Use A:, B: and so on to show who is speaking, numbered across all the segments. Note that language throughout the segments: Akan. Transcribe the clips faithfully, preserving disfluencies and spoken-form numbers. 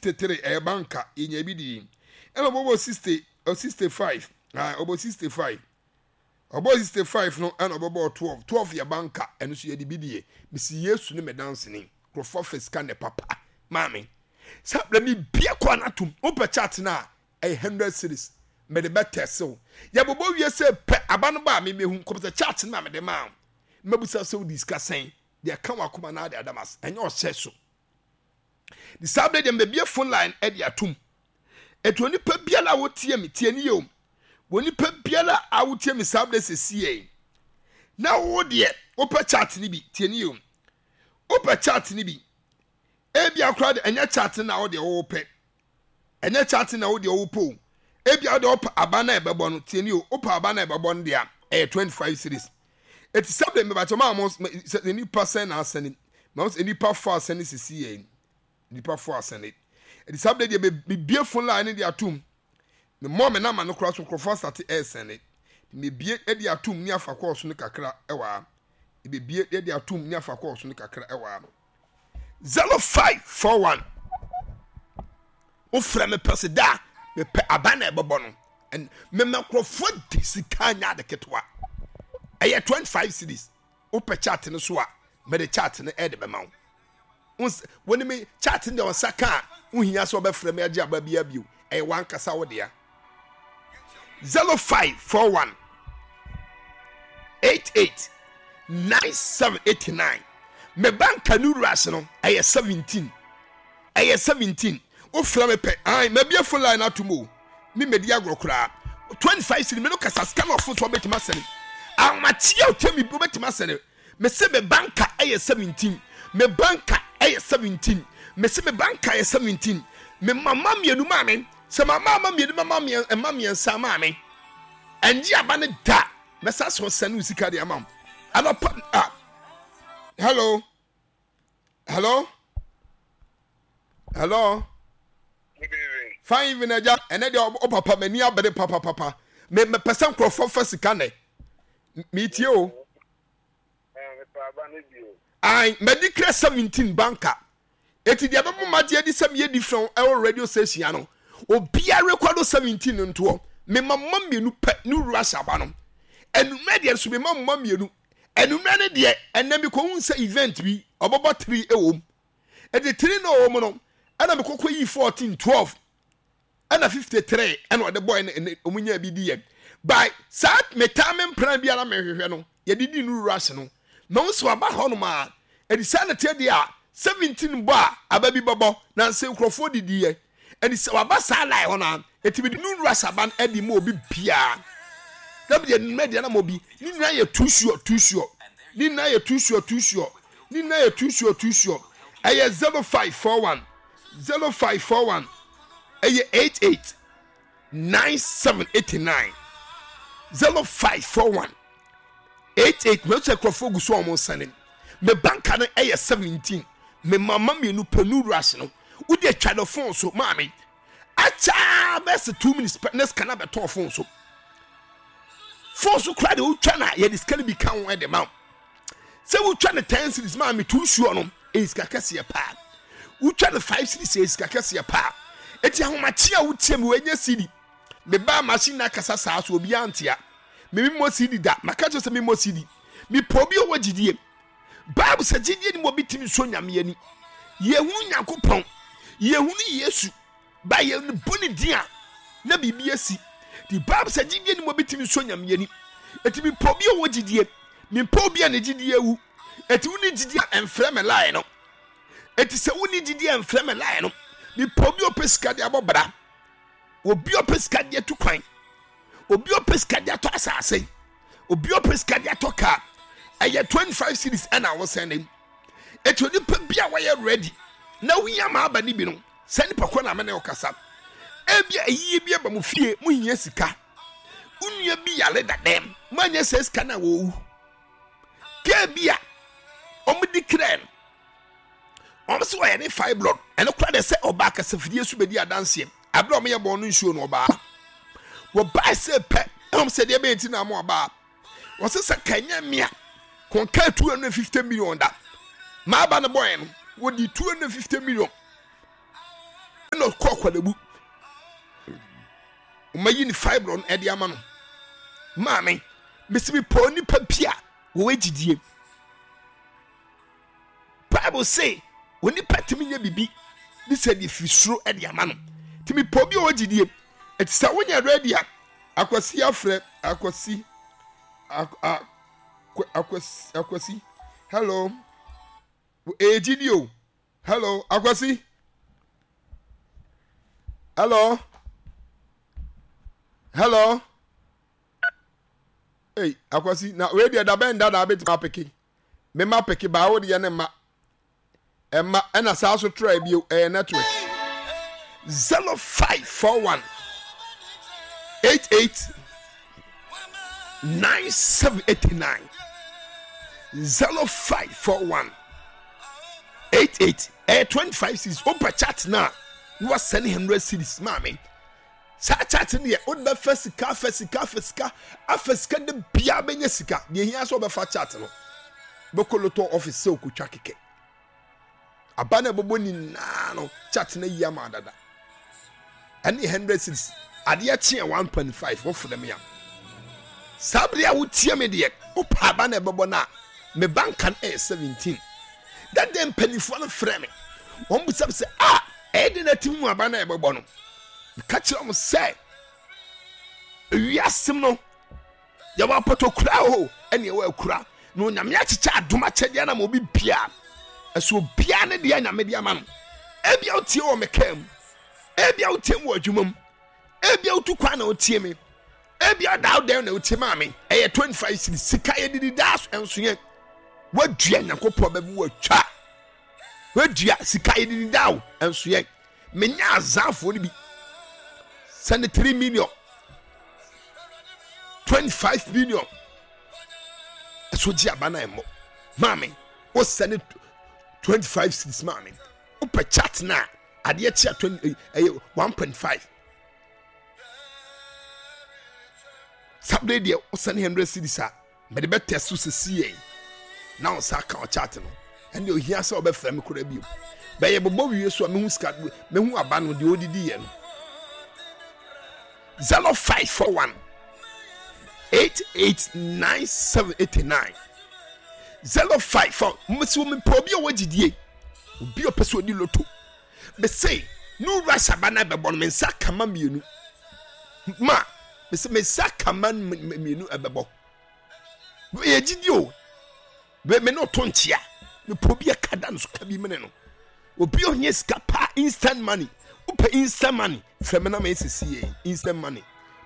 A: Fifty three ɛyɛ banka, yɛnya bi di. Ɛna ɔbɔbɔ sixty, sixty five, ɔbɔ sixty five, ɔbɔ sixty five no, ɛna ɔbɔbɔ twelve. Twelve yɛ banka, ɛno nso yɛde bi die. Mesi Yesu ne me danseni. Nkurɔfoɔ fɛ sika ne papa maame sɛ abirɛ mi bie kɔ anatom. Wopɛ chart no a, ɛyɛ hundred series mɛde bɛ tɛsew. Yɛbobɔ wie sɛ pɛ aba no ba a, memehu kɔpɛ chart no a mede maa wo. Mɛbusa sɛ wode sika sɛn deɛ ka wakoma na ade adamas. Ɛnyɛ ɔhyɛ so de saa bere deɛ, mbɛbie phone line ɛde atum. Etu onipa biara a wotie mi, tie ni yɛ o. Onipa biara a wotie mi saa bere sisi yɛ na wo deɛ wopɛ chart ni bi, tie ni yɛ o. Wopɛ chart ni bi, ebi akora de, ɛnyɛ chart na wo deɛ wopɛ, ɛnyɛ chart na wo deɛ wopɛ o. Ebi a wo deɛ wopɛ aba na ɛbɛbɔ no, tie ni o. Wopɛ aba na ɛbɛbɔ no deɛ, ɛyɛ twenty five series. Eti sɛbɛ mbɛbàtɛ maa mo sɛ nipa sɛn na asɛn maa mo sɛ nipa fo asɛn sisi yɛ nipa fo asɛn. Eti sɛbɛ deɛ, bibie phone line ne de atum. Me mɔ me nama no koraa so, nkurɔfoɔ asate ɛɛsɛn. Mebie de atum ne afa kɔɔ so no kakra ɛwɔ ha. Ebebie de atum ne afa kɔɔ so no kakra ɛwɔ ha. Zero five four one, wofrɛ me pɛ sɛ da mepɛ aba na ɛbɛbɔ no. Mema nkurɔfoɔ di sika nya ade ketewa. Ɛyɛ twenty five cedis. Wopɛ chart no so a, mede chart no ɛde bɛma wo. Wɔne me chart no deɛ, ɔnsa ka a, wohia sɛ wɔbɛfrɛ me agye aba bia bio. Ɛyɛ wankasa wo dea. Zero five four one eight eight nine seven eight nine. Me banka no rush no ɛyɛ seventeen, ɛyɛ seventeen. Wofrɛ me pɛ ayi, mabie phone line ato mu o. Mi mɛdi agorɔ koraa. Twenty five cedi, mi no kasa sika na ɔfo so ɔbɛtumi asɛne ahomakyia o. Tɛmi ɔbɛtumi asɛne. Me se me banka ɛyɛ seventeen, me banka ɛyɛ seventeen, me se me banka ɛyɛ seventeen. Me mama mmienu maa me sɛ mama ama mmienu, mama mma mmiɛnsa maa me ɛngye aba ne da. Mɛsa so sɛne wo sika de ama wo anɔpa. Ah, hello, hello, hello. Fine evening, agya. Ɛnɛ deɛ, ɔ papa m'ani abere papapapa. Me mepɛ sɛ nkurɔfoɔ fa sika nɛ. Metie o. Ai, madi kra seventeen banka. Eti deɛ bɛbɔ magye adi sɛ meyɛ different ɛwɔ radio station ano, obiara rekɔdo seventeen ntoɔ. Mema mma mmienu pɛ ne wura hyɛ aba no. Enumere deɛ nso, mema mma mmienu. Enumere no deɛ, ɛnɛ mekɔhu sɛ event bi ɔbɛbɔ three ɛwɔ mu. Eti three na ɔwɔ mu no, ɛna mekɔkɔ yi fourteen, twelve ɛna fifty three, ɛna ɔde bɔɔ ɛna ɔmo nya bi di yɛ by saa. Metaa me mpran biara mehwehwɛ no, yɛde di no rush no na wɔn nso aba hɔnom a, ɛde saa na teɛ deɛ a, seventeen bɔ a, aba bi bɛbɔ na nse nkurɔfoɔ didi yɛ. Ɛde sɛ waba saa line hɔ no a, eti bi de no rush aba no ɛde ma obi biara na bi deɛ nnumɛ deɛ na ma obi ne nyinaa yɛ too sure, too sure. Ne nyinaa yɛ too sure, too sure. Ne nyinaa yɛ too sure, too sure. Ɛyɛ zero five four one, zero five four one, ɛyɛ eight eight nine seven eight nine, zero five four one eight eight. Mɛ sɛ nkurɔfoɔ gu so a wɔn nsane. Mɛ banka no ɛyɛ seventeen. Mɛ mama mmienu pɛ nu rush no. Wodi atwa no phone so maame akyaa bɛsɛ two minutes pɛ ne sika na bɛtɔn phone so. Phone so kora deɛ, wotwa na yɛde sika no bi ka ho ɛde ma wo. Sɛ wotwa no ten cedis maame, two sure no ɛyɛ sika kɛseɛ paa. Wotwa no five cedis, ɛyɛ sika kɛseɛ paa. Eti ahomakye a wotie mi, wɔnyɛ cd mebaa machine na akasa saa so obiara ntea. Memi mmɔ C D da. Maka kyerɛ sɛ memmɔ C D. Mepɛ obi a ɔwɔ gyidie. Bible sɛ gyidie ni mu obi tumi nso Nyame ani. Yɛhunu Nyankopɔn, yɛhunu Yesu ba, yɛbɔ ne din a na biribi asi. The Bible sɛ gyidie ni mu obi tumi nso Nyame ani. Eti mepɛ obi a ɔwɔ gyidie. Mepɛ obi a ne gyidie awu. Eti wo ne gyidie a, ɛmfrɛ me line no. Eti sɛ wo ne gyidie a, ɛmfrɛ me line no. Mepɛ obi a ɔpɛ sika de abɔ bra, obi a ɔpɛ sika de atu kwan, obi a ɔpɛ sika de atɔ asase, obi a ɔpɛ sika de atɔ kaa. Ɛyɛ twenty five cedis ɛna awosɛn ne. Eti onipa bi a wɔyɛ ready na wohia ma aba ne bi no, sɛ nipa kɔ na amene ɔkasa, ebi a eyie bi aba mo fie, mo hia sika, onua bi yare dadɛm, mo anya sɛ sika na wɔwu kaa bi a wɔn di krɛ no, wɔn sɛ wɔyɛ ne fibroid. Ɛno kora de sɛ ɔbaa kasafidie so bɛdi adanseɛ abere a wɔyɛ bɔn no nsuo no. Ɔbaa wɔbaa sɛ pɛ ɛwɔm sɛ deɛ bɛyɛ ti na mo ɔbaa wɔsɛ sɛ kanya mmea kɔnka two hundred fifty million da maa ba no bɔyɛ no, wɔdi two hundred fifty million. Ɛna Ɛna ɔkɔ Korle Bu, ɔmayi ne fibroid no ɛde ama no. Maame, mesi mi pɔ nipa bi a wɔwɔ gyidie. Bible say onipa tumi nyɛ bibi de sɛ deɛ firi soro ɛde ama no. Tumi pɔ bi a ɔwɔ gyidie. Ɛti sɛ wonyɛ ready a, Akwasi afrɛ Akwasi, Akwasi, Akwasi, hello, ɛyɛ gyidie o. Hello, Akwasi, hello, hello. Hey, Akwasi, na wei deɛ dabɛn da na abɛtumi apeke mema peke baa wo deɛ ne ma ɛma ɛna saa so tra bio. Ɛyɛ network. zero five four one eight eight nine seven eight nine, zero five four one eight eight. Ɛyɛ twenty-five cedis. Wopɛ chat na na wasɛne one hundred cedis. Maame, saa chat no deɛ, wode bɛfa sika, afa sika, afa sika, afa sika de bia bɛnya sika. Deɛ hia sɛ wobɛfa chat no bɛkɔ lotto office sɛ wokɔtwa kɛkɛ aba no ɛbɛbɔ nyinaa no, chat no ayi ama dada. Ɛne one hundred cedis, adeɛ kyeɛ one point five. Wofrɛ me a, saa bere a wotie me deɛ, wopɛ aba no ɛbɛbɔ no a, me banka no ɛyɛ seventeen. Dada mpanimfoɔ no frɛ me, wɔn bisa me sɛ a ɛyɛ de na ti mu aba no ɛbɛbɔ no. Meka kyerɛ wɔn sɛ ewiasem no yɛwɔ apɔtɔkura o, ɛne ɛwɔ akura na Onyame akyekyɛ adom akyɛdeɛ na ma obi bia ɛso obiara ne deɛ Nyame de ama no. Ebia wotie wɔ me kaa mu, ebia wotie mu wɔ adwuma mu, ebia wotu kwan na wotie me, ebia ɔda wo dɛn na wotie maa me. Ɛyɛ twenty-five cedis. Sika yɛ didi daa so ɛnso yɛ wadua Nyankopɔn bɛbi watwa wadua. Sika yɛ didi daa o, ɛnso yɛ menya azaafoɔ no bi sɛne three million, twenty-five million ɛso gye aba na ɛmmɔ. Maame, wosɛne twenty-five cedis. Maame, wopɛ chat na adeɛ kyea twenty, ɛyɛ one point five. Saturday deɛ, wosɛne one hundred cedis a, mede bɛtɛ so sisi yɛn na wo nsa ka ɔchat no. Ɛnde ohia sɛ ɔbɛfrɛ me koraa bio. Bɛyɛ bɔbɔ wie so a, mehu sika, mehu aba no deɛ ɔdidi yɛ no. zero five four one eight eight nine seven eight nine, zero five four. Mbɛsi wɔ mepɛ obi a ɔwɔ gyidie, obi a ɔpɛ sɛ ɔdi lotto. Mese ne wura saba no bɛbɔ no, me nsa kama mmienu ma mese me nsa kama mmienu ɛbɛbɔ. Yɛ gyidie o. Me me ne ɔto nkyea. Mepɛ obi a kada no so ka bi mene no, obi a ɔnyɛ sika paa, instant money. Wopɛ instant money, fɛ me na ma ɛsisi yɛ instant money.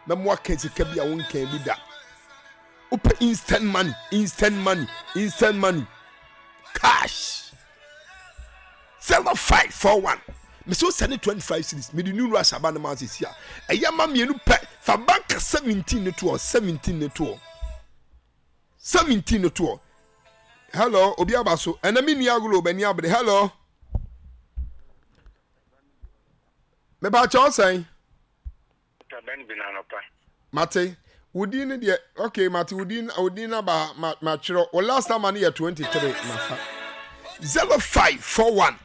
A: Mɛmo aka sika bi a wonkan bi da. Wopɛ instant money, instant money, instant money, cash, zero five four one. Mesi wo sɛne twenty-five cedis, mede new rush aba no ma sisi a ɛyɛ ma mmienu pɛ. Fa banka seventeen ne toɔ, seventeen ne toɔ, seventeen ne toɔ. Hello, obi aba so. Ɛnna mi nua agolo bɛni abere. Hello, mepa kyɛw, sɛn? Mate wo din no deɛ. Okay, mate wo din, wo din na ba ma matwerɛ. Wo last number no yɛ twenty-three. Mafa zero five four one,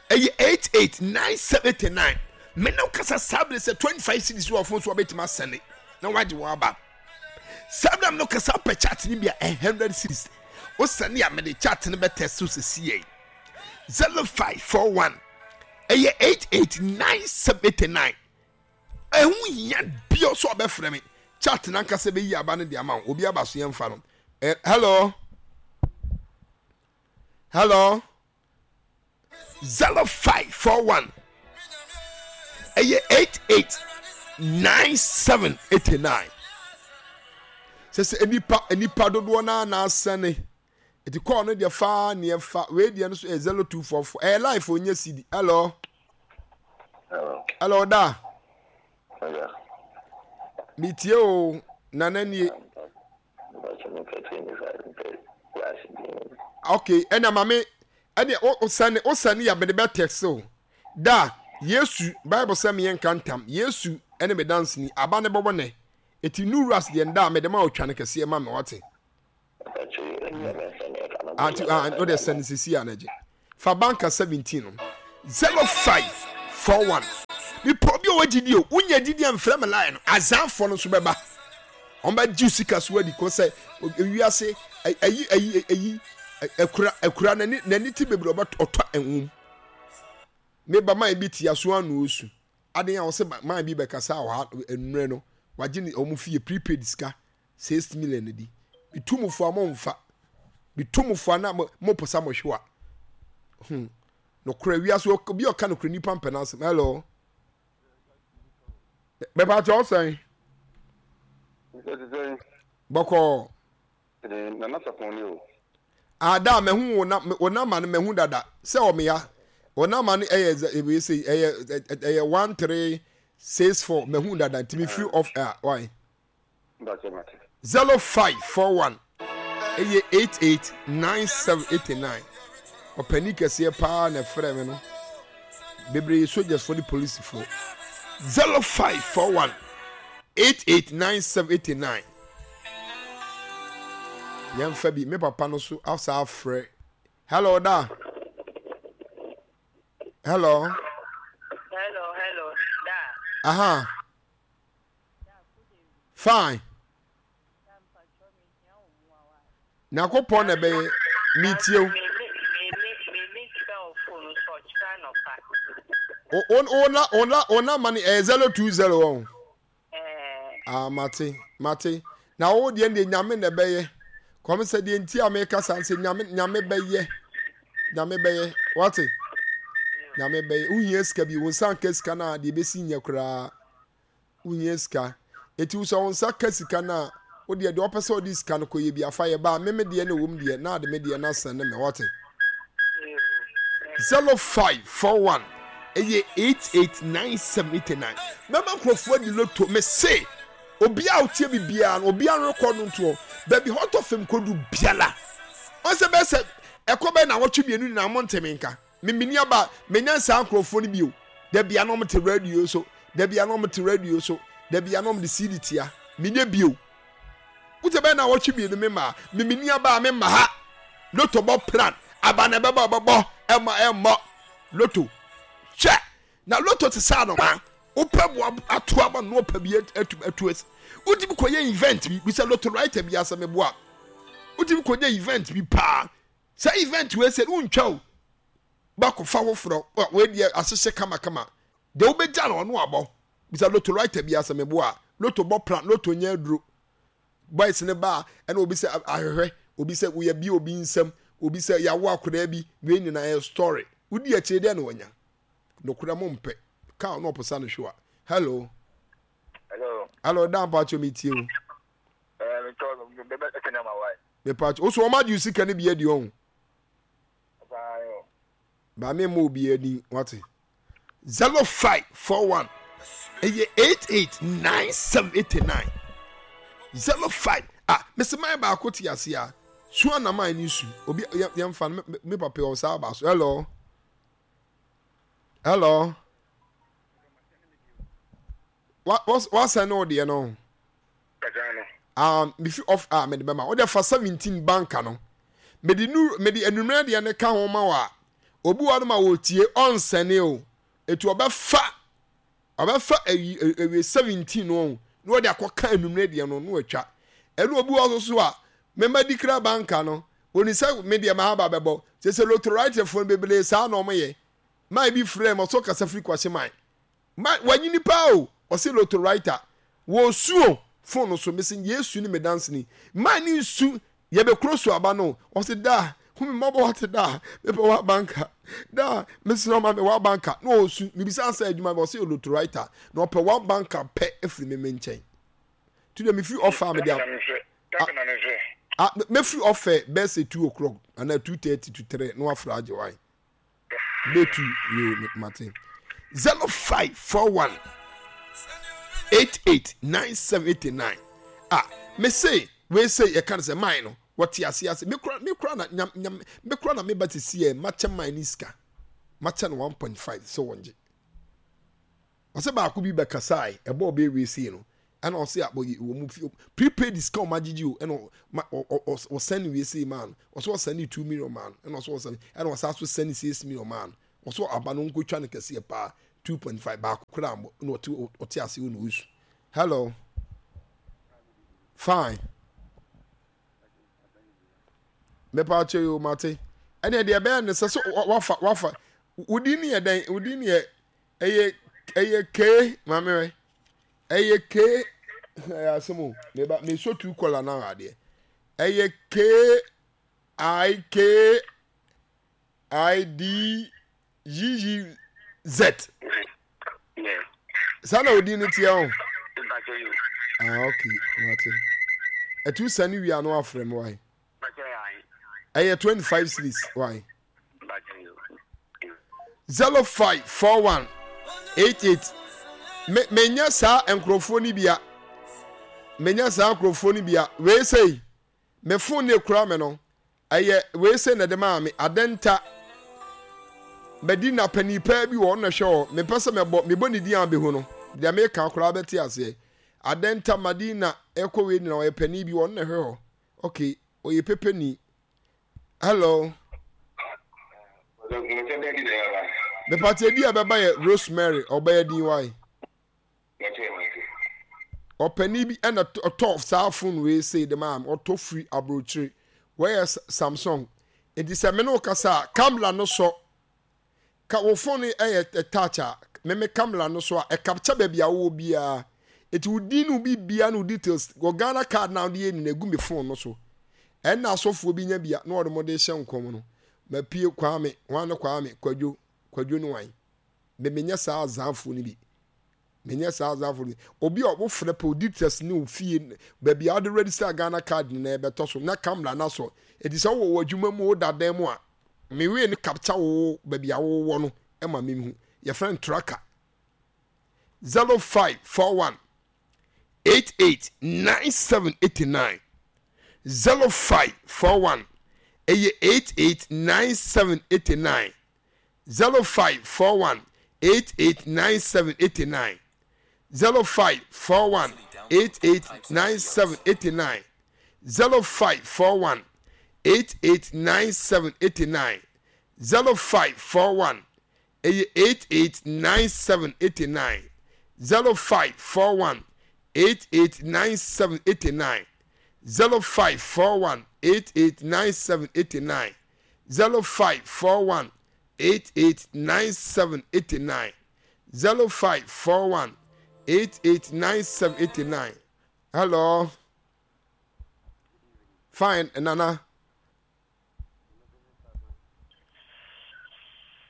A: ɛyɛ eight eight nine seven nine. Me ne wo kasa saa bere sɛ twenty-five cedis wɔ phone so, wabɛtumi asɛne na wagye wɔn aba. Saa bere no kasa pɛ chat no bi a, hundred cedis, wosɛne a, mede chat no bɛtɛ so sisi yɛ zero five four one, ɛyɛ eight eight nine seven nine. Ɛho hia bia so ɔbɛfrɛ me, chat nankasa bɛyi aba no de ama wo. Obi aba so, yɛmfa no. eh, hello hello, zero five four one, ɛyɛ eight eight nine seven eight nine. Sɛ sɛ nipa nipa dodoɔ naa na asɛne eti kɔɔ no deɛ, faa neɛ fa wei deɛ no so yɛ zero two four four. Ɛyɛ life onye C D. Hello.
B: Hello.
A: Hello da.
B: Yeah.
A: Metie o, nana nie.
B: But me pɛ twenty-five, pɛ rush bi.
A: Okay, ɛna maame ɛne o sɛne o sɛne yɛ mede bɛ text o da. Yesu Bible sɛ meyɛ nka ntam, Yesu ɛne me danseni aba ne bɔbɔ nɛ eti new rush deɛ nda a mede ma otwa no kɛseɛ ma me wate. Anti ah, o de sɛne sisi a n'agye fa banka seventeen no, zero five four one. Mepɛ obi a ɔwɔ gyidie o. Wonya gyidie a mfrɛ me line no. Azanfoɔ no nso bɛba. Wɔn bɛgye wo sika so adi kɔ sɛ ewiase ayi ayi ayi akura akura n'ani n'ani ti bebree ɔbɛ ɔtɔ nwom. Meba man bi te aso ano osu. Adan a wɔsɛ man bi bɛkasa wɔ ha nnurɛ no wagye ne wɔn fie prepaid sika six million di. Metu mo fo a mo nfa. Metu mo fo a na mo mo pɛ sɛ mo hwe wa. Hmm. Nokorɛ wiase obi a ɔka nokorɛ nipa mpɛ n'asɛm. Hello. Bɛpa kyɛ ɔsɛn. Bɔkɔɔ.
B: Nana Sapɔn ni o.
A: Ada mahu wo na wo nama no mahu dada sɛ ɔmea wo nama no ɛyɛ ɛwei sɛ ɛyɛ ɛyɛ one three six four mahu dada nti me free off air why. Zero five four one ɛyɛ eight eight nine seven eight nine ɔpanin kɛseɛ paa na ɛfrɛ me no bebree yɛ sogyasfoɔ ne polisifoɔ zero five four one eight eight nine seven eight nine yɛmfa bi me papa no so asa afrɛ hello da hello
C: hello hello da
A: aha Fine. Nyankopɔn na ɛbɛyɛ metie wo. Wo nama no ɛyɛ zero two zero wɔn. Ah, mate, mate. Na wo deɛ deɛ nyame na ɛbɛyɛ. Kɔm sɛ deɛ nti a meka saa sɛ nyame nyame bɛyɛ. Nyame bɛyɛ. Wate? Nyame bɛyɛ. Wohia sika bi, wo nsa nka sika no a deɛ ɛbɛsi nyɛ koraa. Wohia sika. Enti wo sɛ wo nsa ka sika no a, wo deɛ deɛ ɔpɛ sɛ ɔde sika no kɔyɛ bi afa yɛ ba a, me me deɛ na ɛwɔ mu deɛ, na ade me deɛ na sɛne me, wate? Zero five four one ɛyɛ eight eight nine seven eight nine. Mɛma nkurɔfoɔ adi loto, me se obiara a ɔtie bi biara no, obiara rekɔ no ntoɔ, baabi hɔ tɔ fam kɔdu biara. Ɔn sɛ bɛyɛ sɛ ɛkɔ bɛyɛ nnawɔtwe mmienu nyinaa mo nteme nka. Me meni aba menya saa nkurɔfoɔ no bio. Da bia na wɔte radio so, da bia na wɔte radio so, da bia na wɔde C D tia. Menyɛ bio. Wote bɛyɛ na wɔtwe mmienu me maa. Me meni aba me ma ha. Loto bɔ plan. Aba na ɛbɛbɔ ɛbɛbɔ ɛma ɛmmɔ. Loto. Hwɛ. Na loto te sɛ anomaa. Wopɛ boa ato aba no ɔpɛ bi atu atu asi. Wotumi kɔyɛ event bi, bisa loto writer bi asɛ meboa. Wotumi kɔyɛ event bi paa. Saa event wei sɛ wontwa o bakɔ fa foforɔ wei deɛ ahyehyɛ kamakama deɛ wobɛgya no ɔno abɔ bisa loto writer bi asɛ meboa a loto bɔ plan loto nyɛ aduro boys ne ba ɛna obi sɛ ahwehwɛ obi sɛ woyɛ bi obi nsam obi sɛ yɛawo akwadaa bi wei nyinaa yɛ story wodi akyire deɛ na wanya nokorɛ mo mpɛ kaa ɔno ɔposa no hwewa hello
B: hello
A: hello dan paatwo metie o
B: eh, metɔ bɛbɛ ɛtɛ na ma wae
A: Mepakyɛ wo so wɔn agye wo sika no bi adi ɔho. Ba me mmɔ obi ani wate. Zero five four one ɛyɛ eight eight nine seven eight nine zero five ah mesi man baako te ase a su anaman ne su obi yɛn fa no me papa wɔ saa aba so hello hello wa wasɛn ne wo deɛ no. Ah, mefi off a mede bɛma wode fa seventeen banka no mede nu mede anummerɛ deɛ no ka ho ma wo a obi wɔ no ma wɔtie ɔnsɛne o ɛti ɔbɛfa ɔbɛfa ayi awie seventeen no na wɔde akɔka anummerɛ deɛ no na watwa ɛne obi wɔ so so a mema di kra banka no wɔni sɛ me deɛ mahaba bɛbɔ sɛ sɛ lotoritefoɔ no bebree saa na ɔmoyɛ man bi frɛ ma ɔsɔ kasa firi kwahye man Ma wanyini paa o ɔse lotto writer wɔ su o phone no so mese yesu ne me danseni ma ne nsu yɛbɛ kuro so aba no ɔse daa hu me mmɔbɔ wate daa mepɛ w'abanka daa mesrɛ ma me w'abanka na ɔsu mebisa sɛ adwuma bɛ ɔse lotto writer na ɔpɛ w'abanka pɛ afiri me me nkyɛn tu deɛ mefiri ɔfa a mede a mefiri ɔfɛ bɛsɛ two o'clock anaa two thirty to three na wafra agye wan Betu yo mate. Zero five four one eight eight nine seven eight nine. Ah, me say we say yɛ kan sɛ mine no wɔte ase ase me kura me kura na nyam nyam me kura na me ba te si yɛ makyɛ mine ne sika makyɛ no one point five sɛ wɔn gye. Ɔsɛ baako bi bɛkasae ɛbɔ ɔbɛ ewie sei no ɛna ɔsɛ abɔ yɛ wɔn mu fi prepaid sika wɔn agyegye o ɛna ɔsɛn wie sei maa no ɔsɛ ɔsɛn ne two million maa no ɛna ɔsɛ ɔsɛn ɛna ɔsɛ aso sɛn ne six million maa no ɔsɛ aba no nkotwa no kɛseɛ paa two point five baako koraa mmɔ na ɔte ɔte ase wo na ɔsu. Hello, fine, mepa akyɛ yi o, mate. Ɛnna deɛ ɛbɛyɛ ne sɛ so wafa wafa wodi ne yɛ dɛn? Wodi ne yɛ ɛyɛ ɛyɛ kee maame wɛ ɛyɛ kee ɛyɛ asɛm o. Meba meso tu kɔla na adeɛ ɛyɛ kee i k i d g g z. Saa na odin no teɛ o. Ah, ok, mate. Ɛtu sani wia no afrɛ me wae. Ɛyɛ twenty five series wae. Zero five four one eight eight. Me menya saa nkurɔfoɔ no bia. Menya saa nkurɔfoɔ no bia. Wei sɛi. Me phone no ekura me no, ɛyɛ wei sei na ɛde maa me. Adɛnta Medina panin paa bi wɔ ɔno na ɛhwɛ hɔ. Mempɛ sɛ mɛbɔ, mebɔ ne din a bɛhu no. Deɛ meka koraa bɛte aseɛ. Adɛnta Madina ɛkɔ wei nyina ɔyɛ panin bi ɔno na ɛhwɛ hɔ. Okay, ɔyɛ pepeni. Hello. Mepate edi a ɛbɛba yɛ Rosemary, ɔbɛyɛ din wae. Ɔpanin bi na ɔtɔ saa phone wei sei de maa me, ɔtɔ firi aburokyire. Wei yɛ Samsung. Nti sɛ me ne wo kasa a, camera no sɔ. Ka wo phone no yɛ touch a, me me camera no so a, ɛcapture baabi a wowɔ biara. Nti wo din ne wo biribiara ne wo details, wɔ Ghana card na wode yɛ nyinaa egu me phone no so. Ɛnna asɔfoɔ bi nya bi a na wɔde mo de hyɛ nkɔm no. Mapue Kwame, hwan ne Kwame? Kwadwo, Kwadwo ne wan? Me menyɛ saa azaafoɔ no bi. Menyɛ saa azafo no. Obi a wofrɛ pɛ odi test ne ofie baabi a wode register Ghana card nyinaa ɛbɛtɔ so na camera no asɔ. Enti sɛ wowɔ w'adwuma mu woda dan mu a, me wei no capture wo baabi a wowɔ no ma mehu. Yɛfrɛ no tracker. zero five four one eight eight nine seven eight nine zero five four one ɛyɛ eight eight nine seven eight nine zero five four one eight eight nine seven eight nine zero five four one eight eight nine seven eight nine zero five four one eight eight nine seven eight nine zero five four one ɛyɛ eight eight nine seven eight nine zero five four one eight eight nine seven eight nine zero five four one eight eight nine seven eight nine zero five four one eight eight nine seven eight nine zero five four one eight eight nine seven eight nine. Hello. Fine, Nana.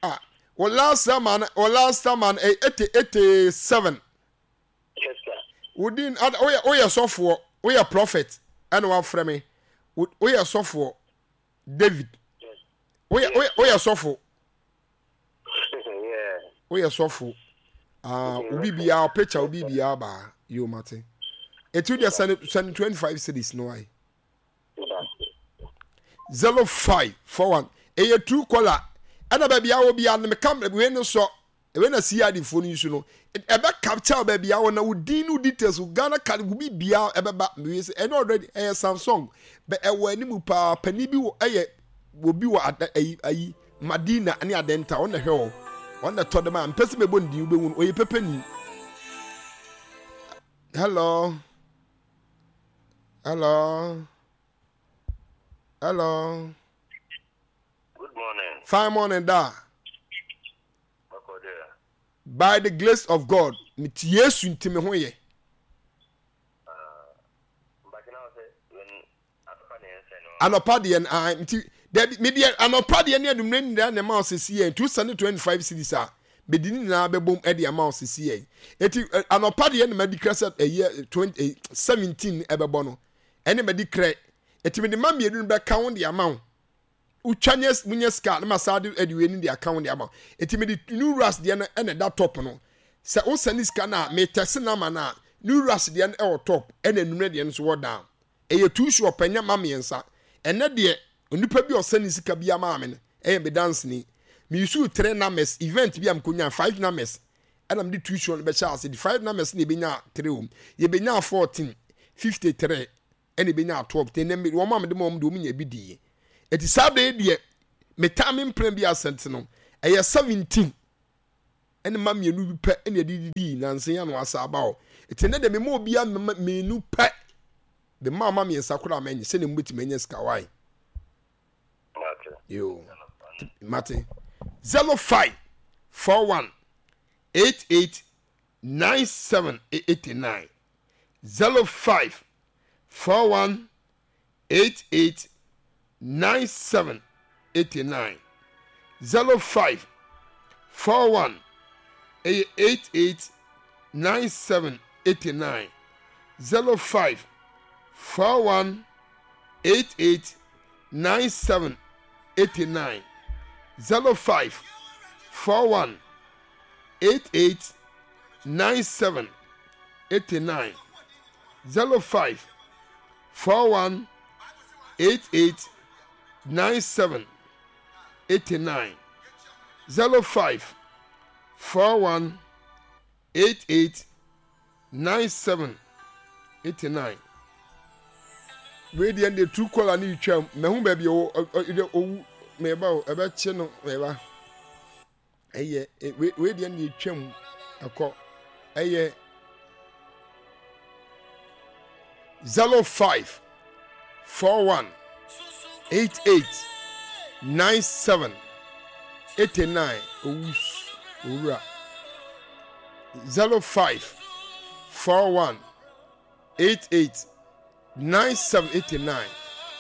A: Ah, well, last time, well, last time, eighty eighty seven.
B: Yes, sir.
A: Within, woyɛ woyɛ sɔfoɔ, woyɛ prophet, ɛna wafrɛ me. Woyɛ sɔfoɔ. David, woyɛ woyɛ woyɛ sɔfo. Woyɛ sɔfo. Ah, obi biara picture obi biara baa yo mate. Eti deɛ sɛne sɛne twenty five cities no ayi. Zero five four one. Ɛyɛ true caller. Ɛna baabi a wɔ biara no meka wei no sɔ. Wei na C I D foɔ no use no. Ɛbɛ capture baabi a wɔ na wo din ne wo details, wo Ghana card, wo biribiara ɛbɛba. Wei sɛ ɛno already ɛyɛ Samsung. Bɛ ɛwɔ anim paa. Panin bi wɔ ɛyɛ obi wɔ ada ayi ayi Madina ne Adenta ɔno na ɛhwɛ hɔ. Ɔno na ɛtɔ de ma. Mpɛ sɛ mɛbɔ ne din wobɛhu no. Ɔyɛ pɛpɛni. Hello. Hello. Hello.
B: Good morning.
A: Fine morning da. By the grace of God, mete Yesu nti me ho yɛ. Anɔpa deɛ no ah, nti dabi me deɛ anɔpa deɛ ne anummerɛ nyinaa na ɛma ɔsisi yɛn two seven twenty five series a mede ne nyinaa bɛbom ɛde ama ɔsisi yɛn eti anɔpa deɛ na madi kra sɛ ɛyɛ twenty seventeen ɛbɛbɔ no ɛne madi kra eti mede ma mmienu no bɛka ho de ama wo. Wotwa nyɛ munya sika na ma saa de ɛde wei ne de aka ho de ama. Eti mede new rush deɛ no ɛna ɛda top no. Sɛ wosɛne sika no a metɛse nama no a, new rush deɛ no ɛwɔ top ɛna enumere deɛ no nso wɔ down. Ɛyɛ two shop ɛnyɛ ma mmiɛnsa. Ɛnɛ deɛ onipa bi a ɔsɛne sika bi ama me no ɛyɛ me danseni. Me use three numbers event bi a mkonya five numbers ɛna mede two shop no bɛhyɛ ase de five numbers na ebenya three wɔm. Yɛbɛnya fourteen, fifty three ɛna ebenya twelve. Te ɛnɛ wɔn a mede ma wɔn deɛ wɔn nya bi di. Eti saa bɛyɛ deɛ metaa me mpena bi asɛnte no ɛyɛ seventeen. Ɛne ma mmienu bi pɛ ɛna ɛde didi nansa yi ano asa aba hɔ. Eti ne de mema obiara mmienu pɛ. De ma ama mmiɛnsa koraa mɛnyɛ sɛdeɛ mobɛtumi anya sika wae. Yo. Mate. Zero five four one eight eight nine seven eighty nine zero five four one eight eight nine seven eighty nine zero five four one ɛyɛ eight eight nine seven eighty nine zero five four one eight eight nine seven eighty nine zero five four one eight eight nine seven eighty nine zero five four one eight eight nine seven eighty nine zero five four one eight eight nine seven eighty nine. Wei deɛ deɛ tu kɔla ne twam mɛho baabi ɔwɔ owu mɛba o ɛbɛkye no mɛba ɛyɛ wei deɛ deɛ twam ɛkɔ ɛyɛ zero five four one eight eight nine seven eighty nine owu owura zero five four one eight eight nine seven eighty nine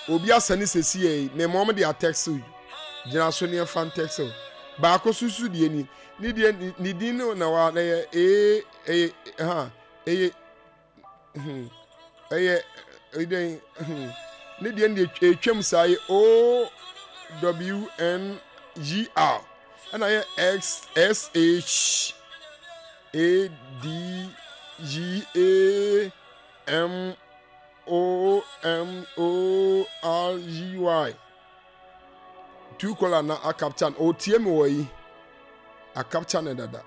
A: obi asa ne sisi yɛ yi mɛmɔ ɔmo de atɛksew gyina so ne ɛfa ntɛksew baako soso deɛ ni ne deɛ ne din no na wa na yɛ ee ɛyɛ ha ɛyɛ hmm ɛyɛ ɛdɛn hmm ne deɛ ne deɛ etwam saa yɛ o w n g r ɛna yɛ x s h a d g a m o m o r g y two color na akapcha no otie mi wɔ yi akapcha ne dada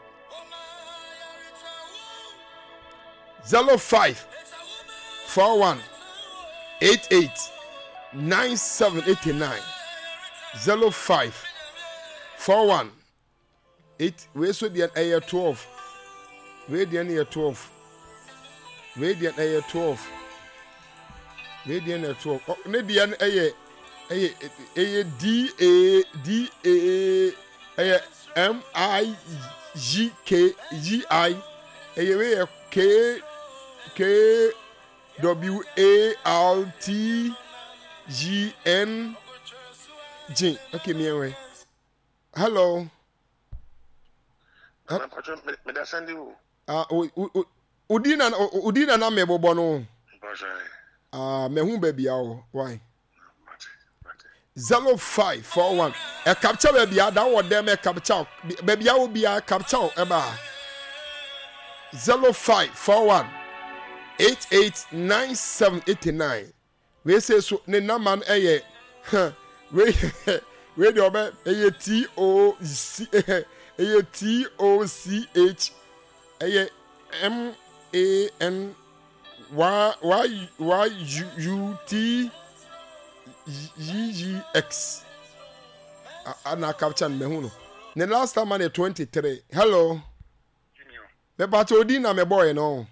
A: zero five four one eight eight nine seven eighty nine zero five four one eight wei so deɛ ɛyɛ twelve wei deɛ no yɛ twelve wei deɛ ɛyɛ twelve wei deɛ no yɛ twelve ɔ ne deɛ no ɛyɛ ɛyɛ ɛyɛ d a d a ɛyɛ m i g k g i ɛyɛ wei yɛ k k w a r t g n g okay miɛnwɛ hello. Ah, odi na odi na na mebobɔ no. Ah, mehu baabi a wɔ why. Zero five four one. Ɛ capture baabi a da wɔ dɛm ɛ capture baabi a wɔ bi a capture ɛba. Zero five four one eight eight nine seven eighty nine. Wei sei so ne nama no ɛyɛ huh wei wei deɛ ɔbɛ ɛyɛ T O C ɛyɛ T O C H ɛyɛ M A N Y Y Y U T Y Y X ana capture no mehu no ne last time no yɛ twenty three. Hello, mepatɛ odi na mebɔɔyɛ no.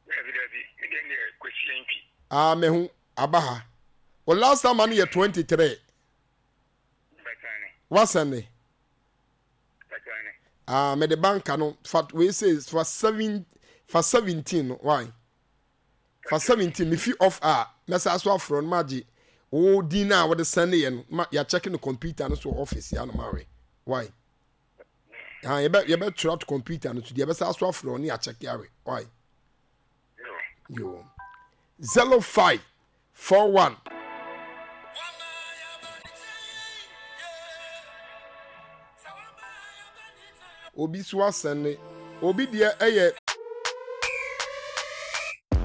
B: Dabi dabi, me deɛ neɛ Kwesi Antwi.
A: Ah mehu, aba ha. O last time no yɛ twenty three.
B: Bɛtane.
A: Wasɛne.
B: Bɛtane.
A: Ah me de banka no fa wei say fa seven fa seventeen no why? Fa seventeen me fi off a mɛsa so afrɛ no magye wo din na wode sɛne yɛ no ma ya check no computer no so office ya no ma we. Why? Ah, yɛbɛ yɛbɛtwerɛ ato computer no so deɛ yɛbɛsa so afrɛ ɔne akyɛke awe why yo zero five four one obi so asɛne obi deɛ ɛyɛ.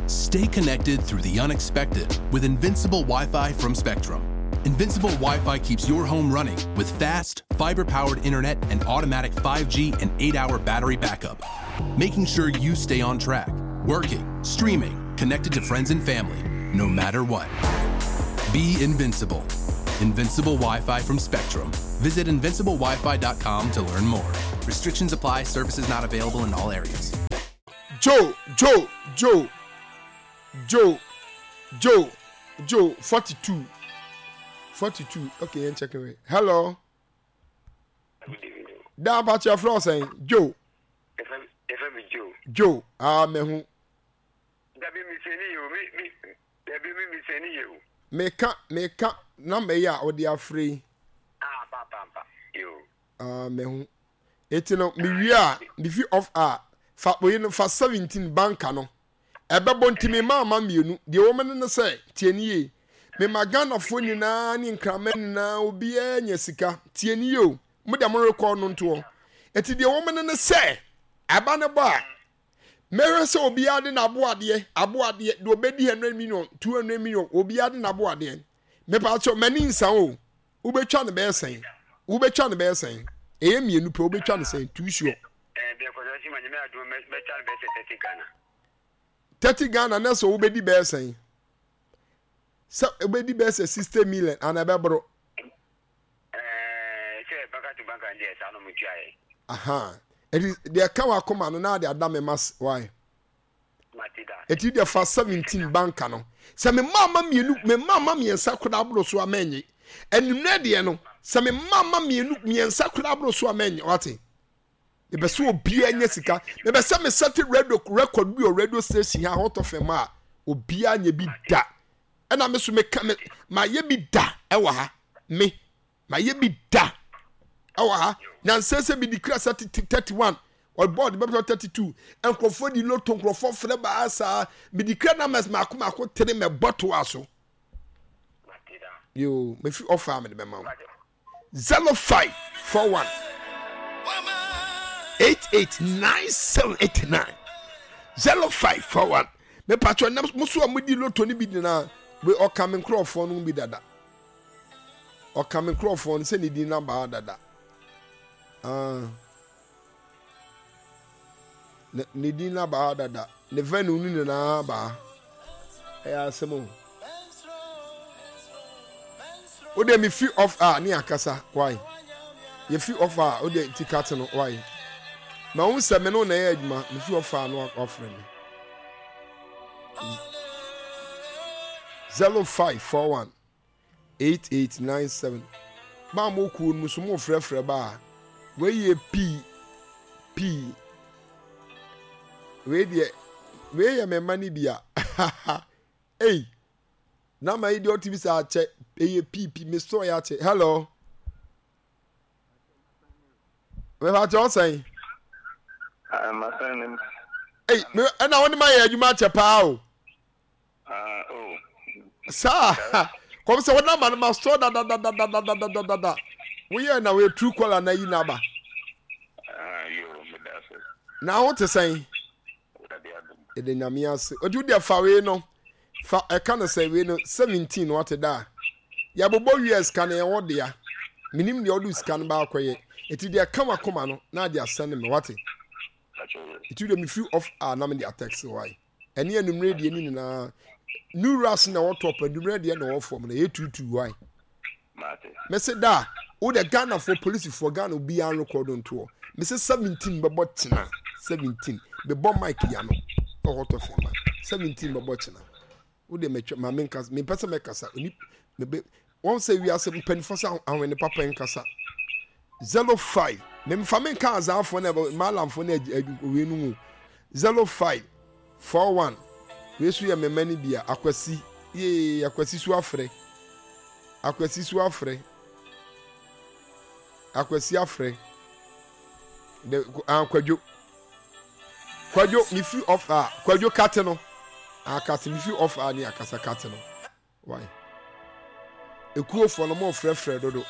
D: Stay connected through the unexpected with Invincible Wi-Fi from Spectrum. Invincible Wi-Fi keeps your home running with fast, fiber-powered internet and automatic five G and eight-hour battery backup, making sure you stay on track, working, streaming, connected to friends and family, no matter what. Be invincible. Invincible Wi-Fi from Spectrum. Visit invincible wi fi dot com to learn more. Restrictions apply, services not available in all areas.
A: Joe, Joe, Joe, Joe, Joe, Joe, forty-two. forty-two. Okay, I'm checking it. Hello. Da about your floor saying Joe.
B: F M Joe.
A: Joe, ah, me who?
B: Dabi mi seni you, me me. Dabi mi mi seni you.
A: Me ka, me ka, number ya or they are free.
B: Ah, pa pa pa. You.
A: Ah, me who? Eti no, me we are, me fi off ah. Fa we no fa seventeen banka no. Ebe bonti me mama mienu. The woman no say, tie ni ye. Me magana phone nyina ni nkrama nyina obi anya sika. Tie ni ye o. Mo de mo record no nto. Eti the woman no say, aba ne ba. Mere se obi ade na aboade, aboade de obedi hundred million, two hundred million, obi ade na aboade. Me pa cho mani nsa o. Wo betwa ne be sen. Wo betwa ne be sen. Eye mienu pe wo betwa ne sen two sure.
B: Eh be ko si ma nyame adu me betwa ne be sen thirty Ghana.
A: thirty Ghana na so wo bedi be sen. Se obedi be sen sixty million ana be bro.
B: Eh se baka to banka nde sa no mutua e.
A: Aha. It is the account akoma no na de adam mas why. Eti de fa seventeen banka no. Se me mama mienu me mama miensa koda bro so amenye. Enumre de no se me mama mienu miensa koda bro so amenye wate. E be so obi anya sika. Me be se me set radio record bi o radio station ha Hot F M a obi anya bi da. E na me so me ka me ma ye bi da e wa ha. Me ma ye bi da. E wa ha. Na nsese bi declare thirty-one or board be thirty-two enkrofo di lotto enkrofo frɛ ba asa bi declare numbers ma akoma akɔ three me bottle aso. Yo me fi offer me de ma zero five four one eight eight nine seven eight nine zero five four one me patro na muso amudi lotto ni bi na we o ka me nkrofo no bi dada o ka me nkrofo no se ni di number dada. Ah, ne din na ba dada ne venu ni na ba e asemo o de mi free off ah ni akasa why ye free off ah o de ticket no why ma won se me no na ye adwuma me free off ah no offer me zero five four one eight eight nine seven ba mo ku no so mo frefre ba we ye p p we de we ye me mani bia hey na ma idiot bi sa che e p p me so ya che hello we ba cho say
B: I'm a friend.
A: Hey me na woni ma ye adwuma che pa o
B: ah oh
A: sa kom se wona ma ma so da da da da da da da da da we here na we true caller na yi na ba
B: ah yo me da so
A: na wo te sen e de nyame ase odu de fa we no fa e ka no say we no seventeen what da ya bobo years ka na e wo de ya minim de odu sika no ba akoye eti de ka makoma no na de asene me what eti de me free off ah na me de text why eni enumre de ni na new ras na wo top enumre de na wo form na e two two why me say da o de Ghana for police for Ghana obi an record on to me say seventeen bebo tina seventeen be bo mic ya no Hot F M seventeen bebo tina o de me ma me nkasa me pese me kasa oni me be won say we are seven penny for sa anwe ne papa nkasa zero five me mfa me nka azafo na malamfo na we nu zero five four one we su ye me mani bia akwasi ye akwasi su afre akwasi su afre akwasi afre de akwadwo kwadwo mi free off ah kwadwo kate no akate mi free off ah ni akasa kate no why ekuofo no mo frefre dodo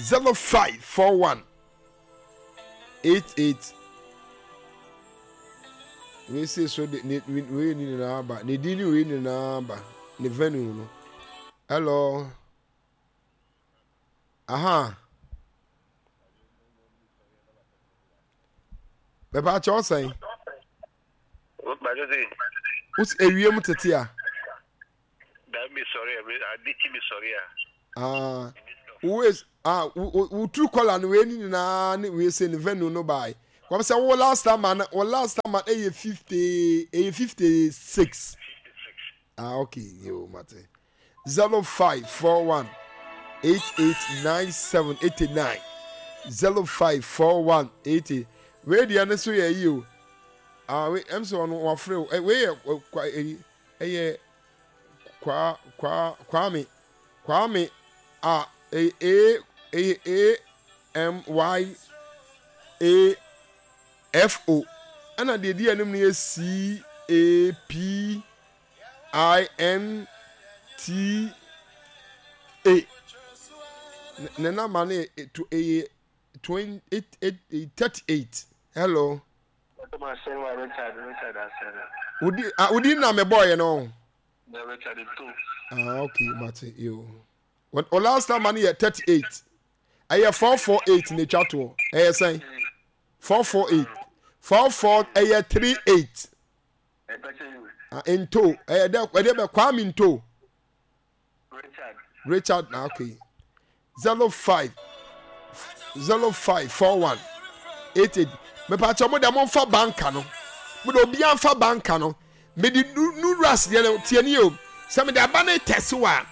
A: zero five four one eight eight we say so de ni we ni na ba ni di ni we ni na ba ni venue no hello aha be ba cho sen us ewie mu tete a
B: that me sorry I did me sorry
A: ah Wo ah wo wo true caller no wei ne nyinaa ne wei sɛ ne venue no bae. Kɔm sɛ wo last time no, wo last time ɛyɛ fifty, ɛyɛ fifty six. Ah, okay, yo mate. zero five four one eight eight nine seven eighty nine zero five four one eight eight. Wei deɛ no so yɛ yi o. Ah, wei ɛm sɛ ɔno wafrɛ o. Wei yɛ kwa ɛyi ɛyɛ kwa kwa Kwame Kwame a ɛyɛ A ɛyɛ A M Y A F O, ɛna deɛ ɛdi anim no yɛ C A P I N T A. Ne namba no yɛ ɛyɛ twenty eight thirty eight. Hello. Wodi ah wodi na mɛ bɔɔ yɛ no. Ah, okay, mate yo. O last time no yɛ thirty eight. Ɛyɛ four four eight na etwa toɔ. Ɛyɛ sɛn? Four four eight. Four four ɛyɛ three eight. Ah, nto ɛyɛ dɛ ɛdɛ bɛ Kwame Nto.
B: Richard.
A: Richard na okay. Zero five zero five four one eight eight. Mepaakyɛ mo deɛ mo nfa banka no. Mo de obiara nfa banka no. Mede nuras deɛ no tie ni o. Sɛ mede aba no tɛse wa